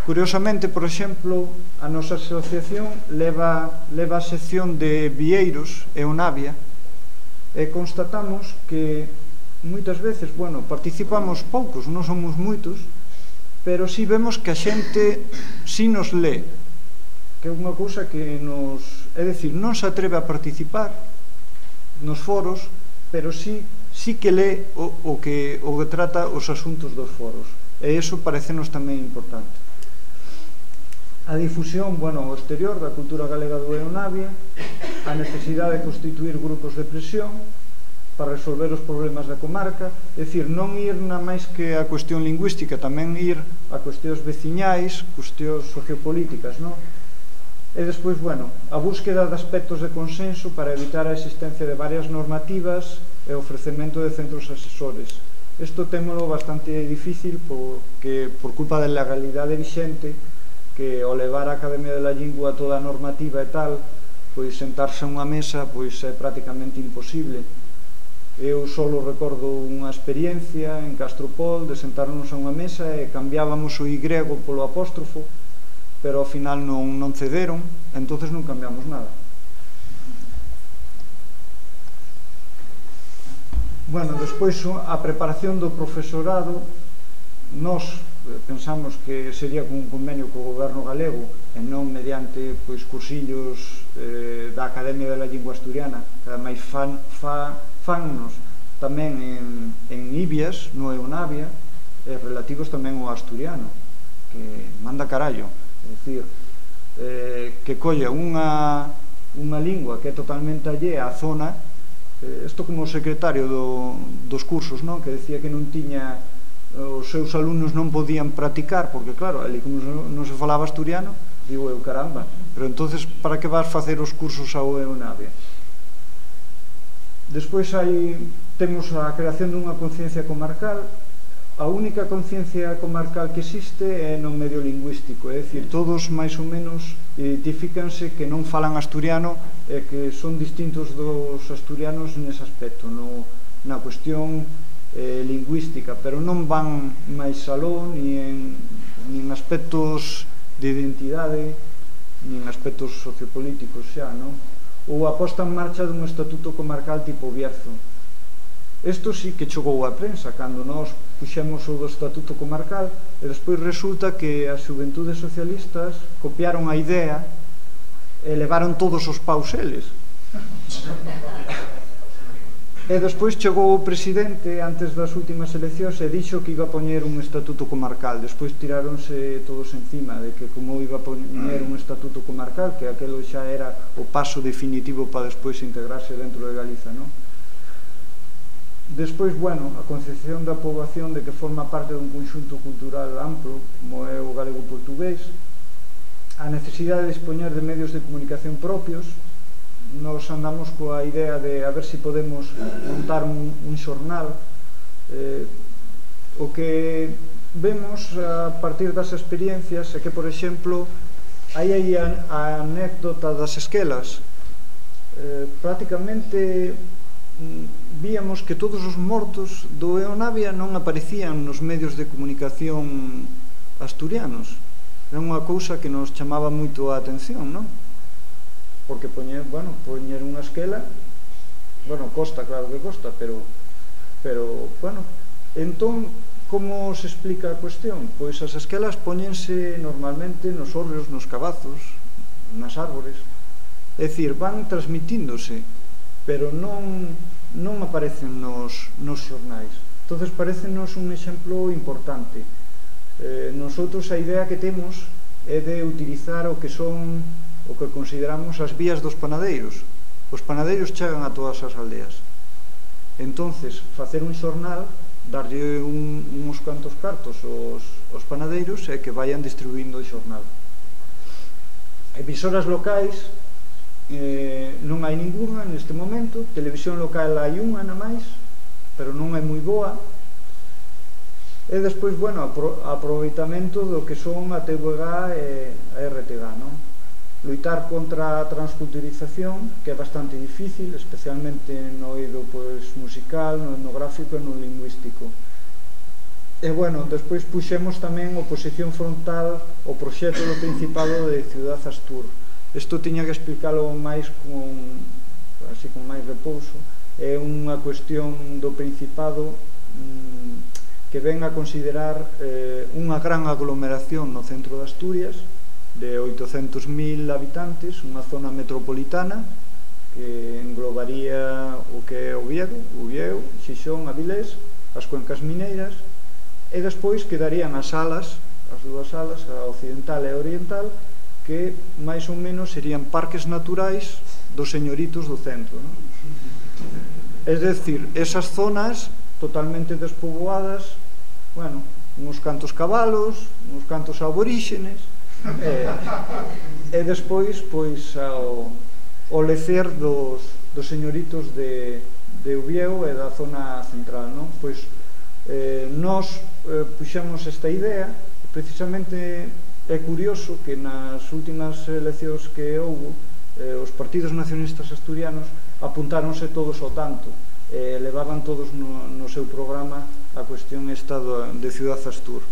Curiosamente, por exemplo, a nosa asociación leva, leva a sección de Vieiros e o Navia, e constatamos que moitas veces, bueno, participamos poucos, non somos moitos, pero si vemos que a xente si nos lé, que é unha cousa que nos, é dicir, non se atreve a participar nos foros, pero si, si que lé o, o, que, o que trata os asuntos dos foros, e iso parecenos tamén importante. A difusión, bueno, ao exterior da cultura galega do Eonavia, a necesidade de constituir grupos de presión para resolver os problemas da comarca, é dicir, non ir na máis que a cuestión lingüística, tamén ir a cuestións veciñais, cuestións sociopolíticas, non? E despois, bueno, a búsqueda de aspectos de consenso para evitar a existencia de varias normativas e o ofrecemento de centros asesores. Isto témolo bastante difícil porque, por culpa da legalidade vixente, que ao levar a Academia de la Lingua toda a normativa e tal, pois sentarse a unha mesa pois é prácticamente imposible. Eu solo recordo unha experiencia en Castropol de sentarnos a unha mesa e cambiábamos o Y polo apóstrofo, pero ao final non, non cederon, entonces non cambiamos nada. Bueno, despois a preparación do profesorado, nós pensamos que sería con un convenio co goberno galego e non mediante pois, cursillos eh, da Academia de la Lingua Asturiana, que ademais fan, fa, fannos tamén en, en Ibias, no Eonavia, e relativos tamén ao asturiano, que manda carallo, é dicir, eh, que colla unha, unha lingua que é totalmente allea á zona. Isto como o secretario do, dos cursos, non? Que decía que non tiña, os seus alumnos non podían practicar, porque claro, ali como non se falaba asturiano, digo eu, caramba, pero entonces para que vas facer os cursos ao Eonavia? Despois hai, temos a creación dunha conciencia comarcal. A única conciencia comarcal que existe é no medio lingüístico, é dicir, todos máis ou menos identifícanse que non falan asturiano e que son distintos dos asturianos nese aspecto, no, na cuestión eh, lingüística, pero non van máis aló ni en, ni en aspectos de identidade ni en aspectos sociopolíticos xa, non? Ou a posta en marcha dun estatuto comarcal tipo Bierzo. Isto sí que chegou á prensa cando nós puxemos o do estatuto comarcal e despois resulta que as xuventudes socialistas copiaron a idea e levaron todos os paus eles. E despois chegou o presidente antes das últimas eleccións e dixo que iba a poñer un estatuto comarcal. Despois tiráronse todos encima de que como iba a poñer un estatuto comarcal, que aquelo xa era o paso definitivo para despois integrarse dentro de Galiza, non? Despois, bueno, a concepción da poboación de que forma parte dun conxunto cultural amplo, como é o galego-portugués, a necesidade de dispoñer de medios de comunicación propios. Nos andamos coa idea de a ver se podemos montar un, un xornal. Eh, o que vemos a partir das experiencias é que, por exemplo, hai aí a, a anécdota das esquelas. Eh, prácticamente víamos que todos os mortos do Eonavia non aparecían nos medios de comunicación asturianos. Era unha cousa que nos chamaba moito a atención, non? Porque poñer, bueno, poñer unha esquela, bueno, costa, claro que costa, pero, pero, bueno, entón, como se explica a cuestión? Pois as esquelas poñense normalmente nos hórreos, nos cabazos, nas árbores, é dicir, van transmitíndose, pero non, non aparecen nos, nos xornais. Entonces parecenos un exemplo importante. Eh, nosotros a idea que temos é de utilizar o que son o que consideramos as vías dos panadeiros. Os panadeiros chegan a todas as aldeas. Entonces, facer un xornal, darlle un, uns cantos cartos aos, aos panadeiros e que vayan distribuindo o xornal. Emisoras locais, eh, non hai ninguna neste momento. Televisión local hai unha na máis, pero non é moi boa. E despois, bueno, aproveitamento do que son a T V G e a R T G, non? Luitar contra a transculturización, que é bastante difícil, especialmente no eido pois, musical, no etnográfico e no lingüístico. E, bueno, despois puxemos tamén oposición frontal ao proxecto do Principado de Ciudad Astur. Isto tiña que explicalo máis con, así, con máis repouso. É unha cuestión do Principado mmm, que ven a considerar eh, unha gran aglomeración no centro de Asturias, de oitocentos mil habitantes, unha zona metropolitana que englobaría o que é Oviedo, Uvieu, Xixón, Avilés, as cuencas mineiras, e despois quedarían as salas, as dúas salas, a occidental e a oriental, que máis ou menos serían parques naturais dos señoritos do centro, non? É dicir, esas zonas totalmente despoboadas, bueno, uns cantos cabalos, uns cantos aboríxenes, e, e despois, pois, ao, ao lecer dos, dos señoritos de, de Uvieu e da zona central, non? Pois, eh, nós eh, puxemos esta idea, precisamente é curioso que nas últimas eleccións que houve, eh, os partidos nacionalistas asturianos apuntáronse todos ao tanto, e eh, levaban todos no, no seu programa a cuestión esta do, de Ciudad Astur.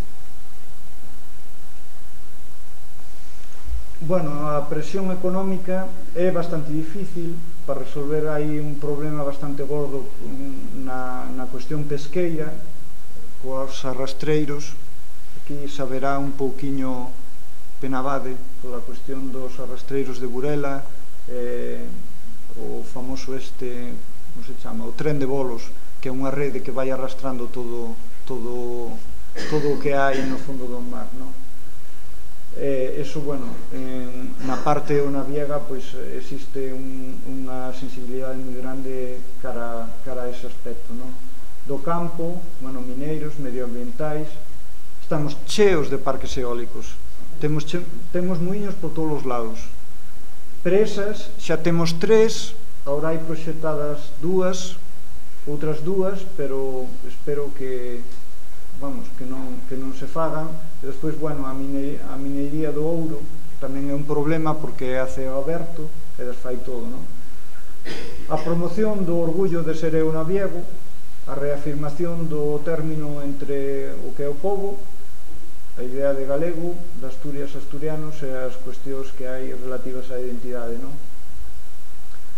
Bueno, a presión económica é bastante difícil para resolver aí un problema bastante gordo na, na cuestión pesqueira, coas arrastreiros. Aquí saberá un pouquiño Penabade toda a cuestión dos arrastreiros de Burela, eh, o famoso este, como se chama, o tren de bolos, que é unha rede que vai arrastrando todo, todo, todo o que hai no fondo do mar, non? Eh, eso, bueno, en, na parte ou na Viega, pois existe un, unha sensibilidade moi grande cara, cara a ese aspecto, non? Do campo, bueno, mineiros, medioambientais, estamos cheos de parques eólicos, temos, che, temos muiños por todos os lados. Presas, xa temos tres, agora hai proxectadas dúas, outras dúas, pero espero que, vamos, que non, que non se fagan. E despois, bueno, a, mine, a minería do ouro tamén é un problema porque é a ceo aberto e desfai todo, non? A promoción do orgullo de ser eu naviego, a reafirmación do término entre o que é o pobo, a idea de galego, de Asturias asturianos e as cuestións que hai relativas á identidade, non?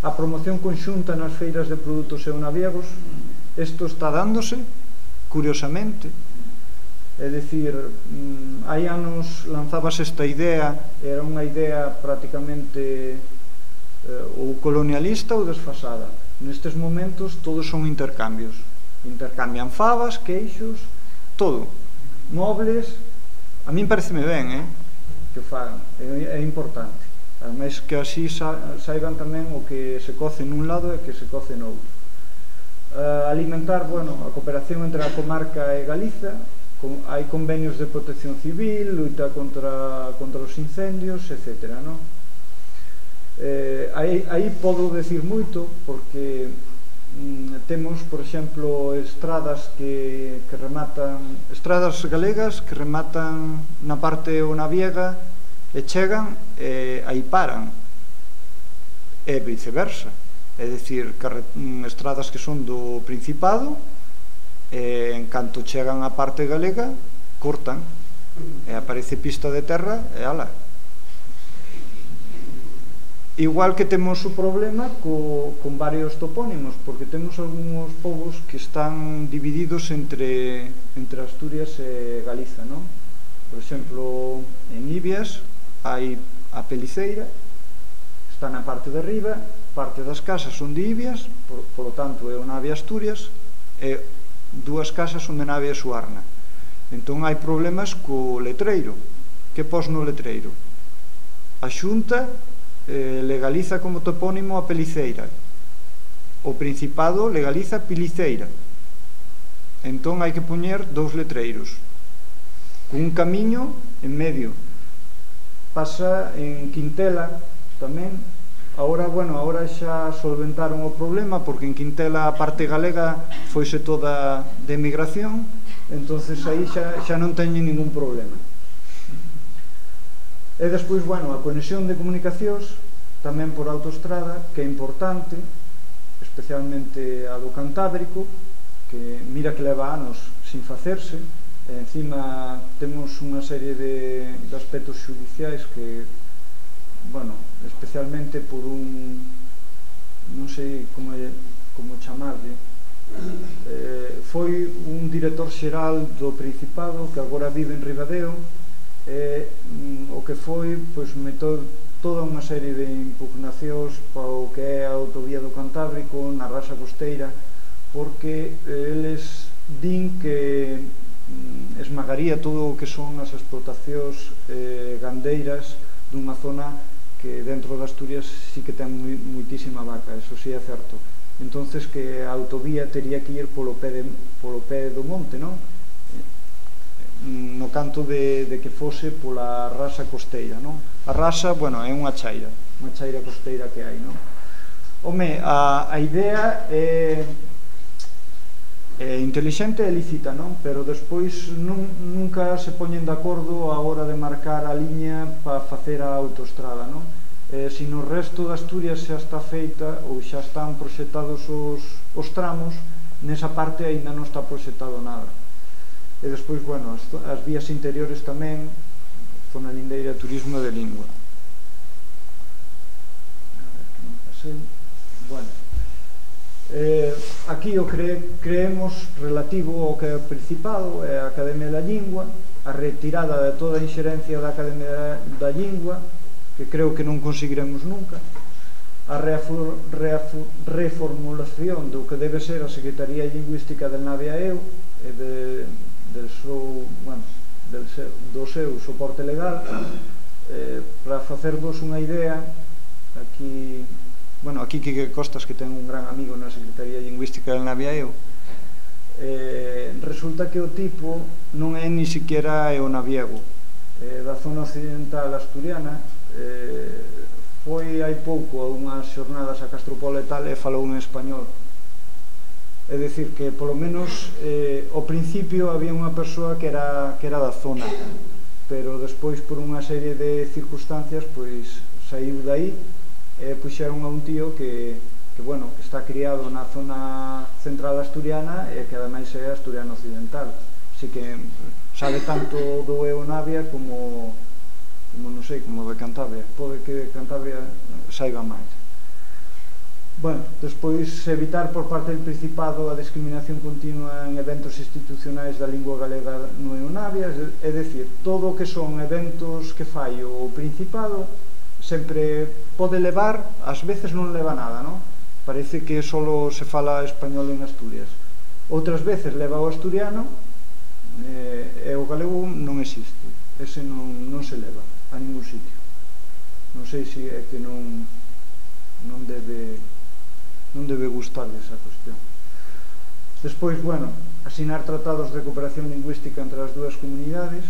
A promoción conxunta nas feiras de produtos eunaviegos, isto está dándose, curiosamente. É dicir, hai anos lanzabas esta idea, era unha idea prácticamente eh, ou colonialista ou desfasada. Nestes momentos todos son intercambios. Intercambian favas, queixos, todo. Mobles, a min pareceme ben, eh, que fagan, é, é importante. Ademais que así sa, saiban tamén o que se coce nun lado e que se coce no outro. Uh, alimentar, bueno, a cooperación entre a comarca e Galiza, con, hai convenios de protección civil, luita contra, contra os incendios, etcétera, non? Eh, aí, aí podo decir moito, porque mm, temos, por exemplo, estradas que, que rematan, estradas galegas que rematan na parte ou na Viega e chegan e aí paran, e viceversa. É dicir, estradas que son do Principado e en canto chegan á parte galega cortan e aparece pista de terra e ala. Igual que temos o problema co, con varios topónimos, porque temos algúns povos que están divididos entre, entre Asturias e Galiza, non? Por exemplo, en Ibias hai a Peliceira, está na parte de arriba, parte das casas son de Ibias, por, por lo tanto é o nave Asturias, e dúas casas onde Navia e Suarna. Entón hai problemas co letreiro. Que pos no letreiro? A Xunta eh, legaliza como topónimo a Peliceira. O Principado legaliza Piliceira. Entón hai que poñer dous letreiros con un camiño en medio. Pasa en Quintela tamén. Ahora, bueno, ahora xa solventaron o problema porque en Quintela a parte galega foise toda de emigración, entonces aí xa, xa non teñen ningún problema. E despois, bueno, a conexión de comunicacións tamén por autoestrada, que é importante, especialmente a do Cantábrico, que mira que leva anos sin facerse, e encima temos unha serie de, de aspectos xudiciais que, bueno, especialmente por un, non sei como, como chamarlle, eh, foi un director xeral do Principado que agora vive en Ribadeo, e mm, o que foi, pois, metou toda unha serie de impugnacións para o que é a autovía do Cantábrico na rasa costeira, porque eh, eles din que mm, esmagaría todo o que son as explotacións eh, gandeiras dunha zona que dentro de Asturias sí que ten muitísima vaca, eso sí é certo. Entonces que a autovía tería que ir polo pé, de, polo pé do monte, non? No canto de, de que fose pola rasa costeira, non? A rasa, bueno, é unha chaira, unha chaira costeira que hai, non? Home, a, a idea é, é intelixente e lícita, non? Pero despois nun, nunca se poñen de acordo a hora de marcar a liña para facer a autoestrada, non? Eh, se no resto de Asturias xa está feita ou xa están proxectados os, os tramos, nesa parte aínda non está proxectado nada. E despois, bueno, as, as vías interiores tamén, zona lindeira, turismo de lingua. A ver, que non pasei. Bueno, eh, aquí o cre, creemos relativo ao que é o Principado, é a Academia da Lingua, a retirada de toda a inxerencia da Academia da Lingua, que creo que non conseguiremos nunca, a reafor, reafor, reformulación do que debe ser a Secretaría Lingüística del Navia e eu, e de... Del seu, bueno, del seu, do seu soporte legal, eh, para facervos unha idea. Aquí, bueno, aquí Quique Costas, que ten un gran amigo na Secretaría Lingüística del Naviaeo, eh, resulta que o tipo non é ni siquiera é o naviego, eh, da zona occidental asturiana. Eh, foi hai pouco a unhas xornadas a Castropol e tal, e falou en español. É dicir, que polo menos eh, ao principio había unha persoa que era, que era da zona, pero despois por unha serie de circunstancias pois saiu dai e puxeron a un tío que, que, bueno, que está criado na zona central asturiana e que ademais é asturiano occidental, así que sabe tanto do E O Navia como, como non sei, como de Cantabria. Pode que Cantabria saiba máis. Bueno, despois evitar por parte do Principado a discriminación continua en eventos institucionais da lingua galega no E O Navia, é dicir, todo o que son eventos que fai o Principado sempre pode levar, ás veces non leva nada, non? Parece que só se fala español en Asturias. Outras veces leva o asturiano e o galego non existe, ese non, non se leva a ningún sitio. Non sei se é que non, non debe... non debe gustarle esa cuestión. Despois, bueno, asinar tratados de cooperación lingüística entre as dúas comunidades,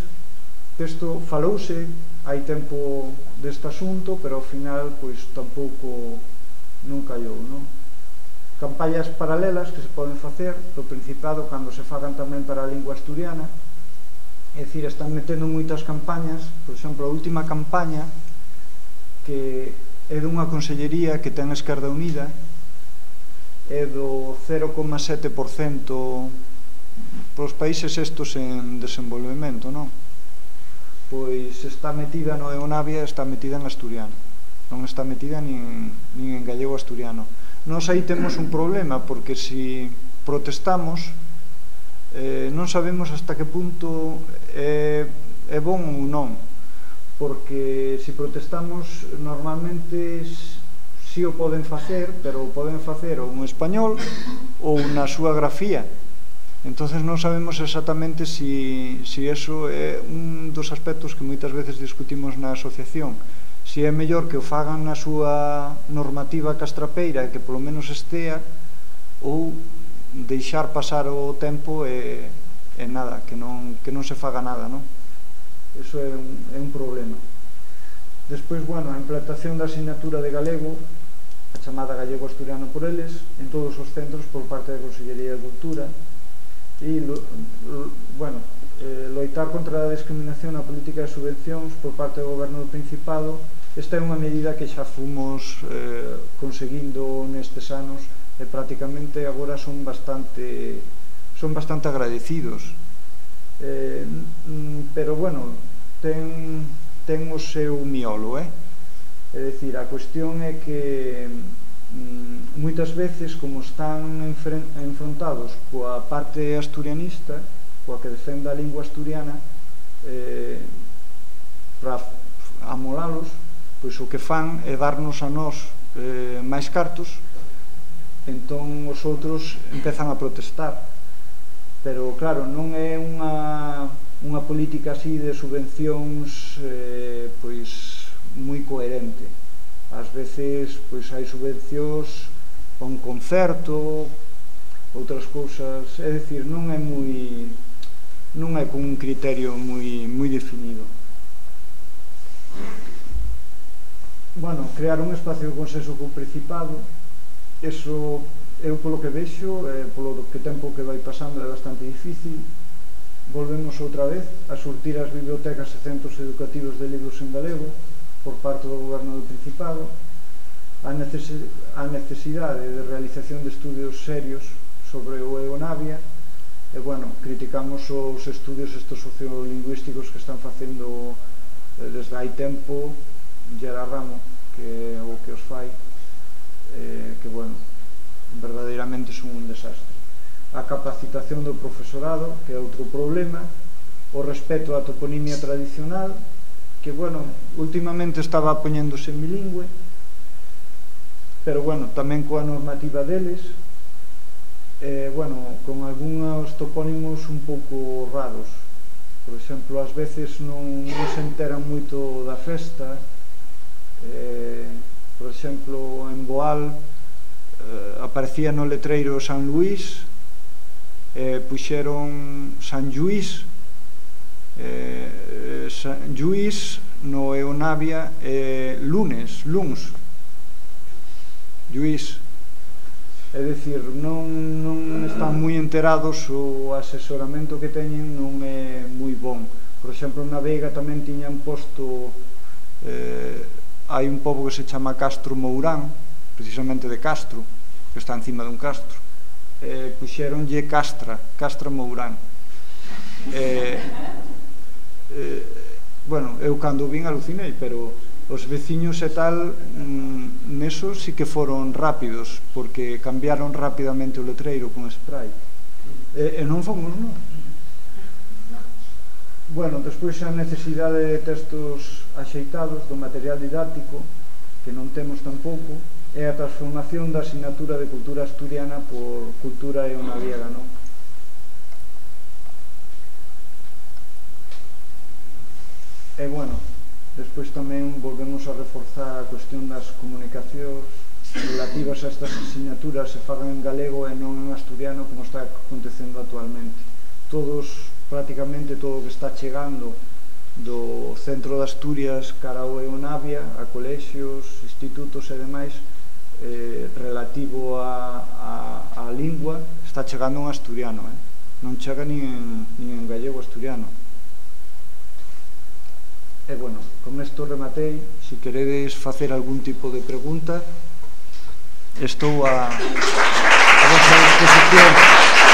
que isto falouse hai tempo deste asunto, pero ao final pois tampouco non callou, non? Campañas paralelas que se poden facer do Principado cando se fagan tamén para a lingua asturiana, é dicir, están metendo moitas campañas. Por exemplo, a última campaña que é dunha consellería que ten a Esquerda Unida, é do cero coma sete por cento para os países estos en desenvolvemento, non? Pois está metida no E O Navia, está metida en asturiano, non está metida nin, nin en gallego asturiano. Nos aí temos un problema, porque se protestamos eh, non sabemos hasta que punto é, é bon ou non, porque se protestamos normalmente si o poden facer, pero o poden facer ou en español ou na súa grafía. Entonces non sabemos exactamente si, si eso é un dos aspectos que moitas veces discutimos na asociación, si é mellor que o fagan na súa normativa castrapeira e que polo menos estea, ou deixar pasar o tempo e, e nada, que non, que non se faga nada, non? Eso é un, é un problema. Despois, bueno, a implantación da asignatura de galego, a chamada gallego-asturiano por eles, en todos os centros por parte da Consellería de Cultura, e, bueno, eh, loitar contra a discriminación na política de subvencións por parte do Goberno do Principado. Esta é unha medida que xa fomos eh, conseguindo nestes anos e prácticamente agora son bastante son bastante agradecidos, eh, pero bueno, ten, ten o seu miolo, eh? É dicir, a cuestión é que mm, moitas veces, como están enfrontados coa parte asturianista, coa que defende a lingua asturiana, eh, para amolalos, pois o que fan é darnos a nós eh, máis cartos, entón os outros empezan a protestar. Pero claro, non é unha, unha política así de subvencións eh, pois moi coherente. Ás veces pois hai subvencións a un concerto, outras cousas, é dicir, non é moi non é con un criterio moi moi definido. Bueno, crear un espacio de consenso co Principado, eso eu polo que vexo, eh, polo que tempo que vai pasando é bastante difícil. Volvemos outra vez a surtir as bibliotecas e centros educativos de libros en galego por parte do Goberno do Principado, a necesidade de realización de estudios serios sobre o Eonavia, e, bueno, criticamos os estudios estos sociolingüísticos que están facendo eh, desde hai tempo Gerard Ramo, que é o que os fai, eh, que, bueno, verdadeiramente son un desastre. A capacitación do profesorado, que é outro problema, o respeto á toponimia tradicional, que, bueno, últimamente estaba poñéndose en bilingüe, pero, bueno, tamén coa normativa deles, eh, bueno, con algúns topónimos un pouco raros. Por exemplo, ás veces non, non se enteran moito da festa. Eh, por exemplo, en Boal eh, aparecía no letreiro San Luís, eh, puxeron San Lluís, eh, San Lluís no Eonavia, eh, lunes, luns, Lluís. É dicir, non, non están moi enterados, o asesoramento que teñen non é moi bon. Por exemplo, na Veiga tamén tiñan posto, eh, hai un pobo que se chama Castro Mourán, precisamente de Castro, que está encima dun castro, eh, puxeronlle Castra, Castra Mourán. Eh, eh, bueno, eu cando vin alucinei, pero os veciños e tal, mm, neso sí que foron rápidos, porque cambiaron rapidamente o letreiro con spray. E, e non fomos, non? Bueno, despois a necesidade de textos axeitados do material didáctico, que non temos tampouco, e a transformación da asignatura de cultura asturiana por cultura eonaviega, non? E, bueno, despois tamén volvemos a reforzar a cuestión das comunicacións relativas a estas asignaturas se fagan en galego e non en asturiano, como está acontecendo actualmente. Todos, prácticamente todo o que está chegando do centro de Asturias cara ao Eonavia, a colexios, institutos e demais, eh, relativo a, a, a lingua, está chegando en asturiano, eh? Non chega nin en, nin en gallego asturiano. E, bueno, con isto rematei. Se queredes facer algún tipo de pregunta, estou a, a vosa disposición.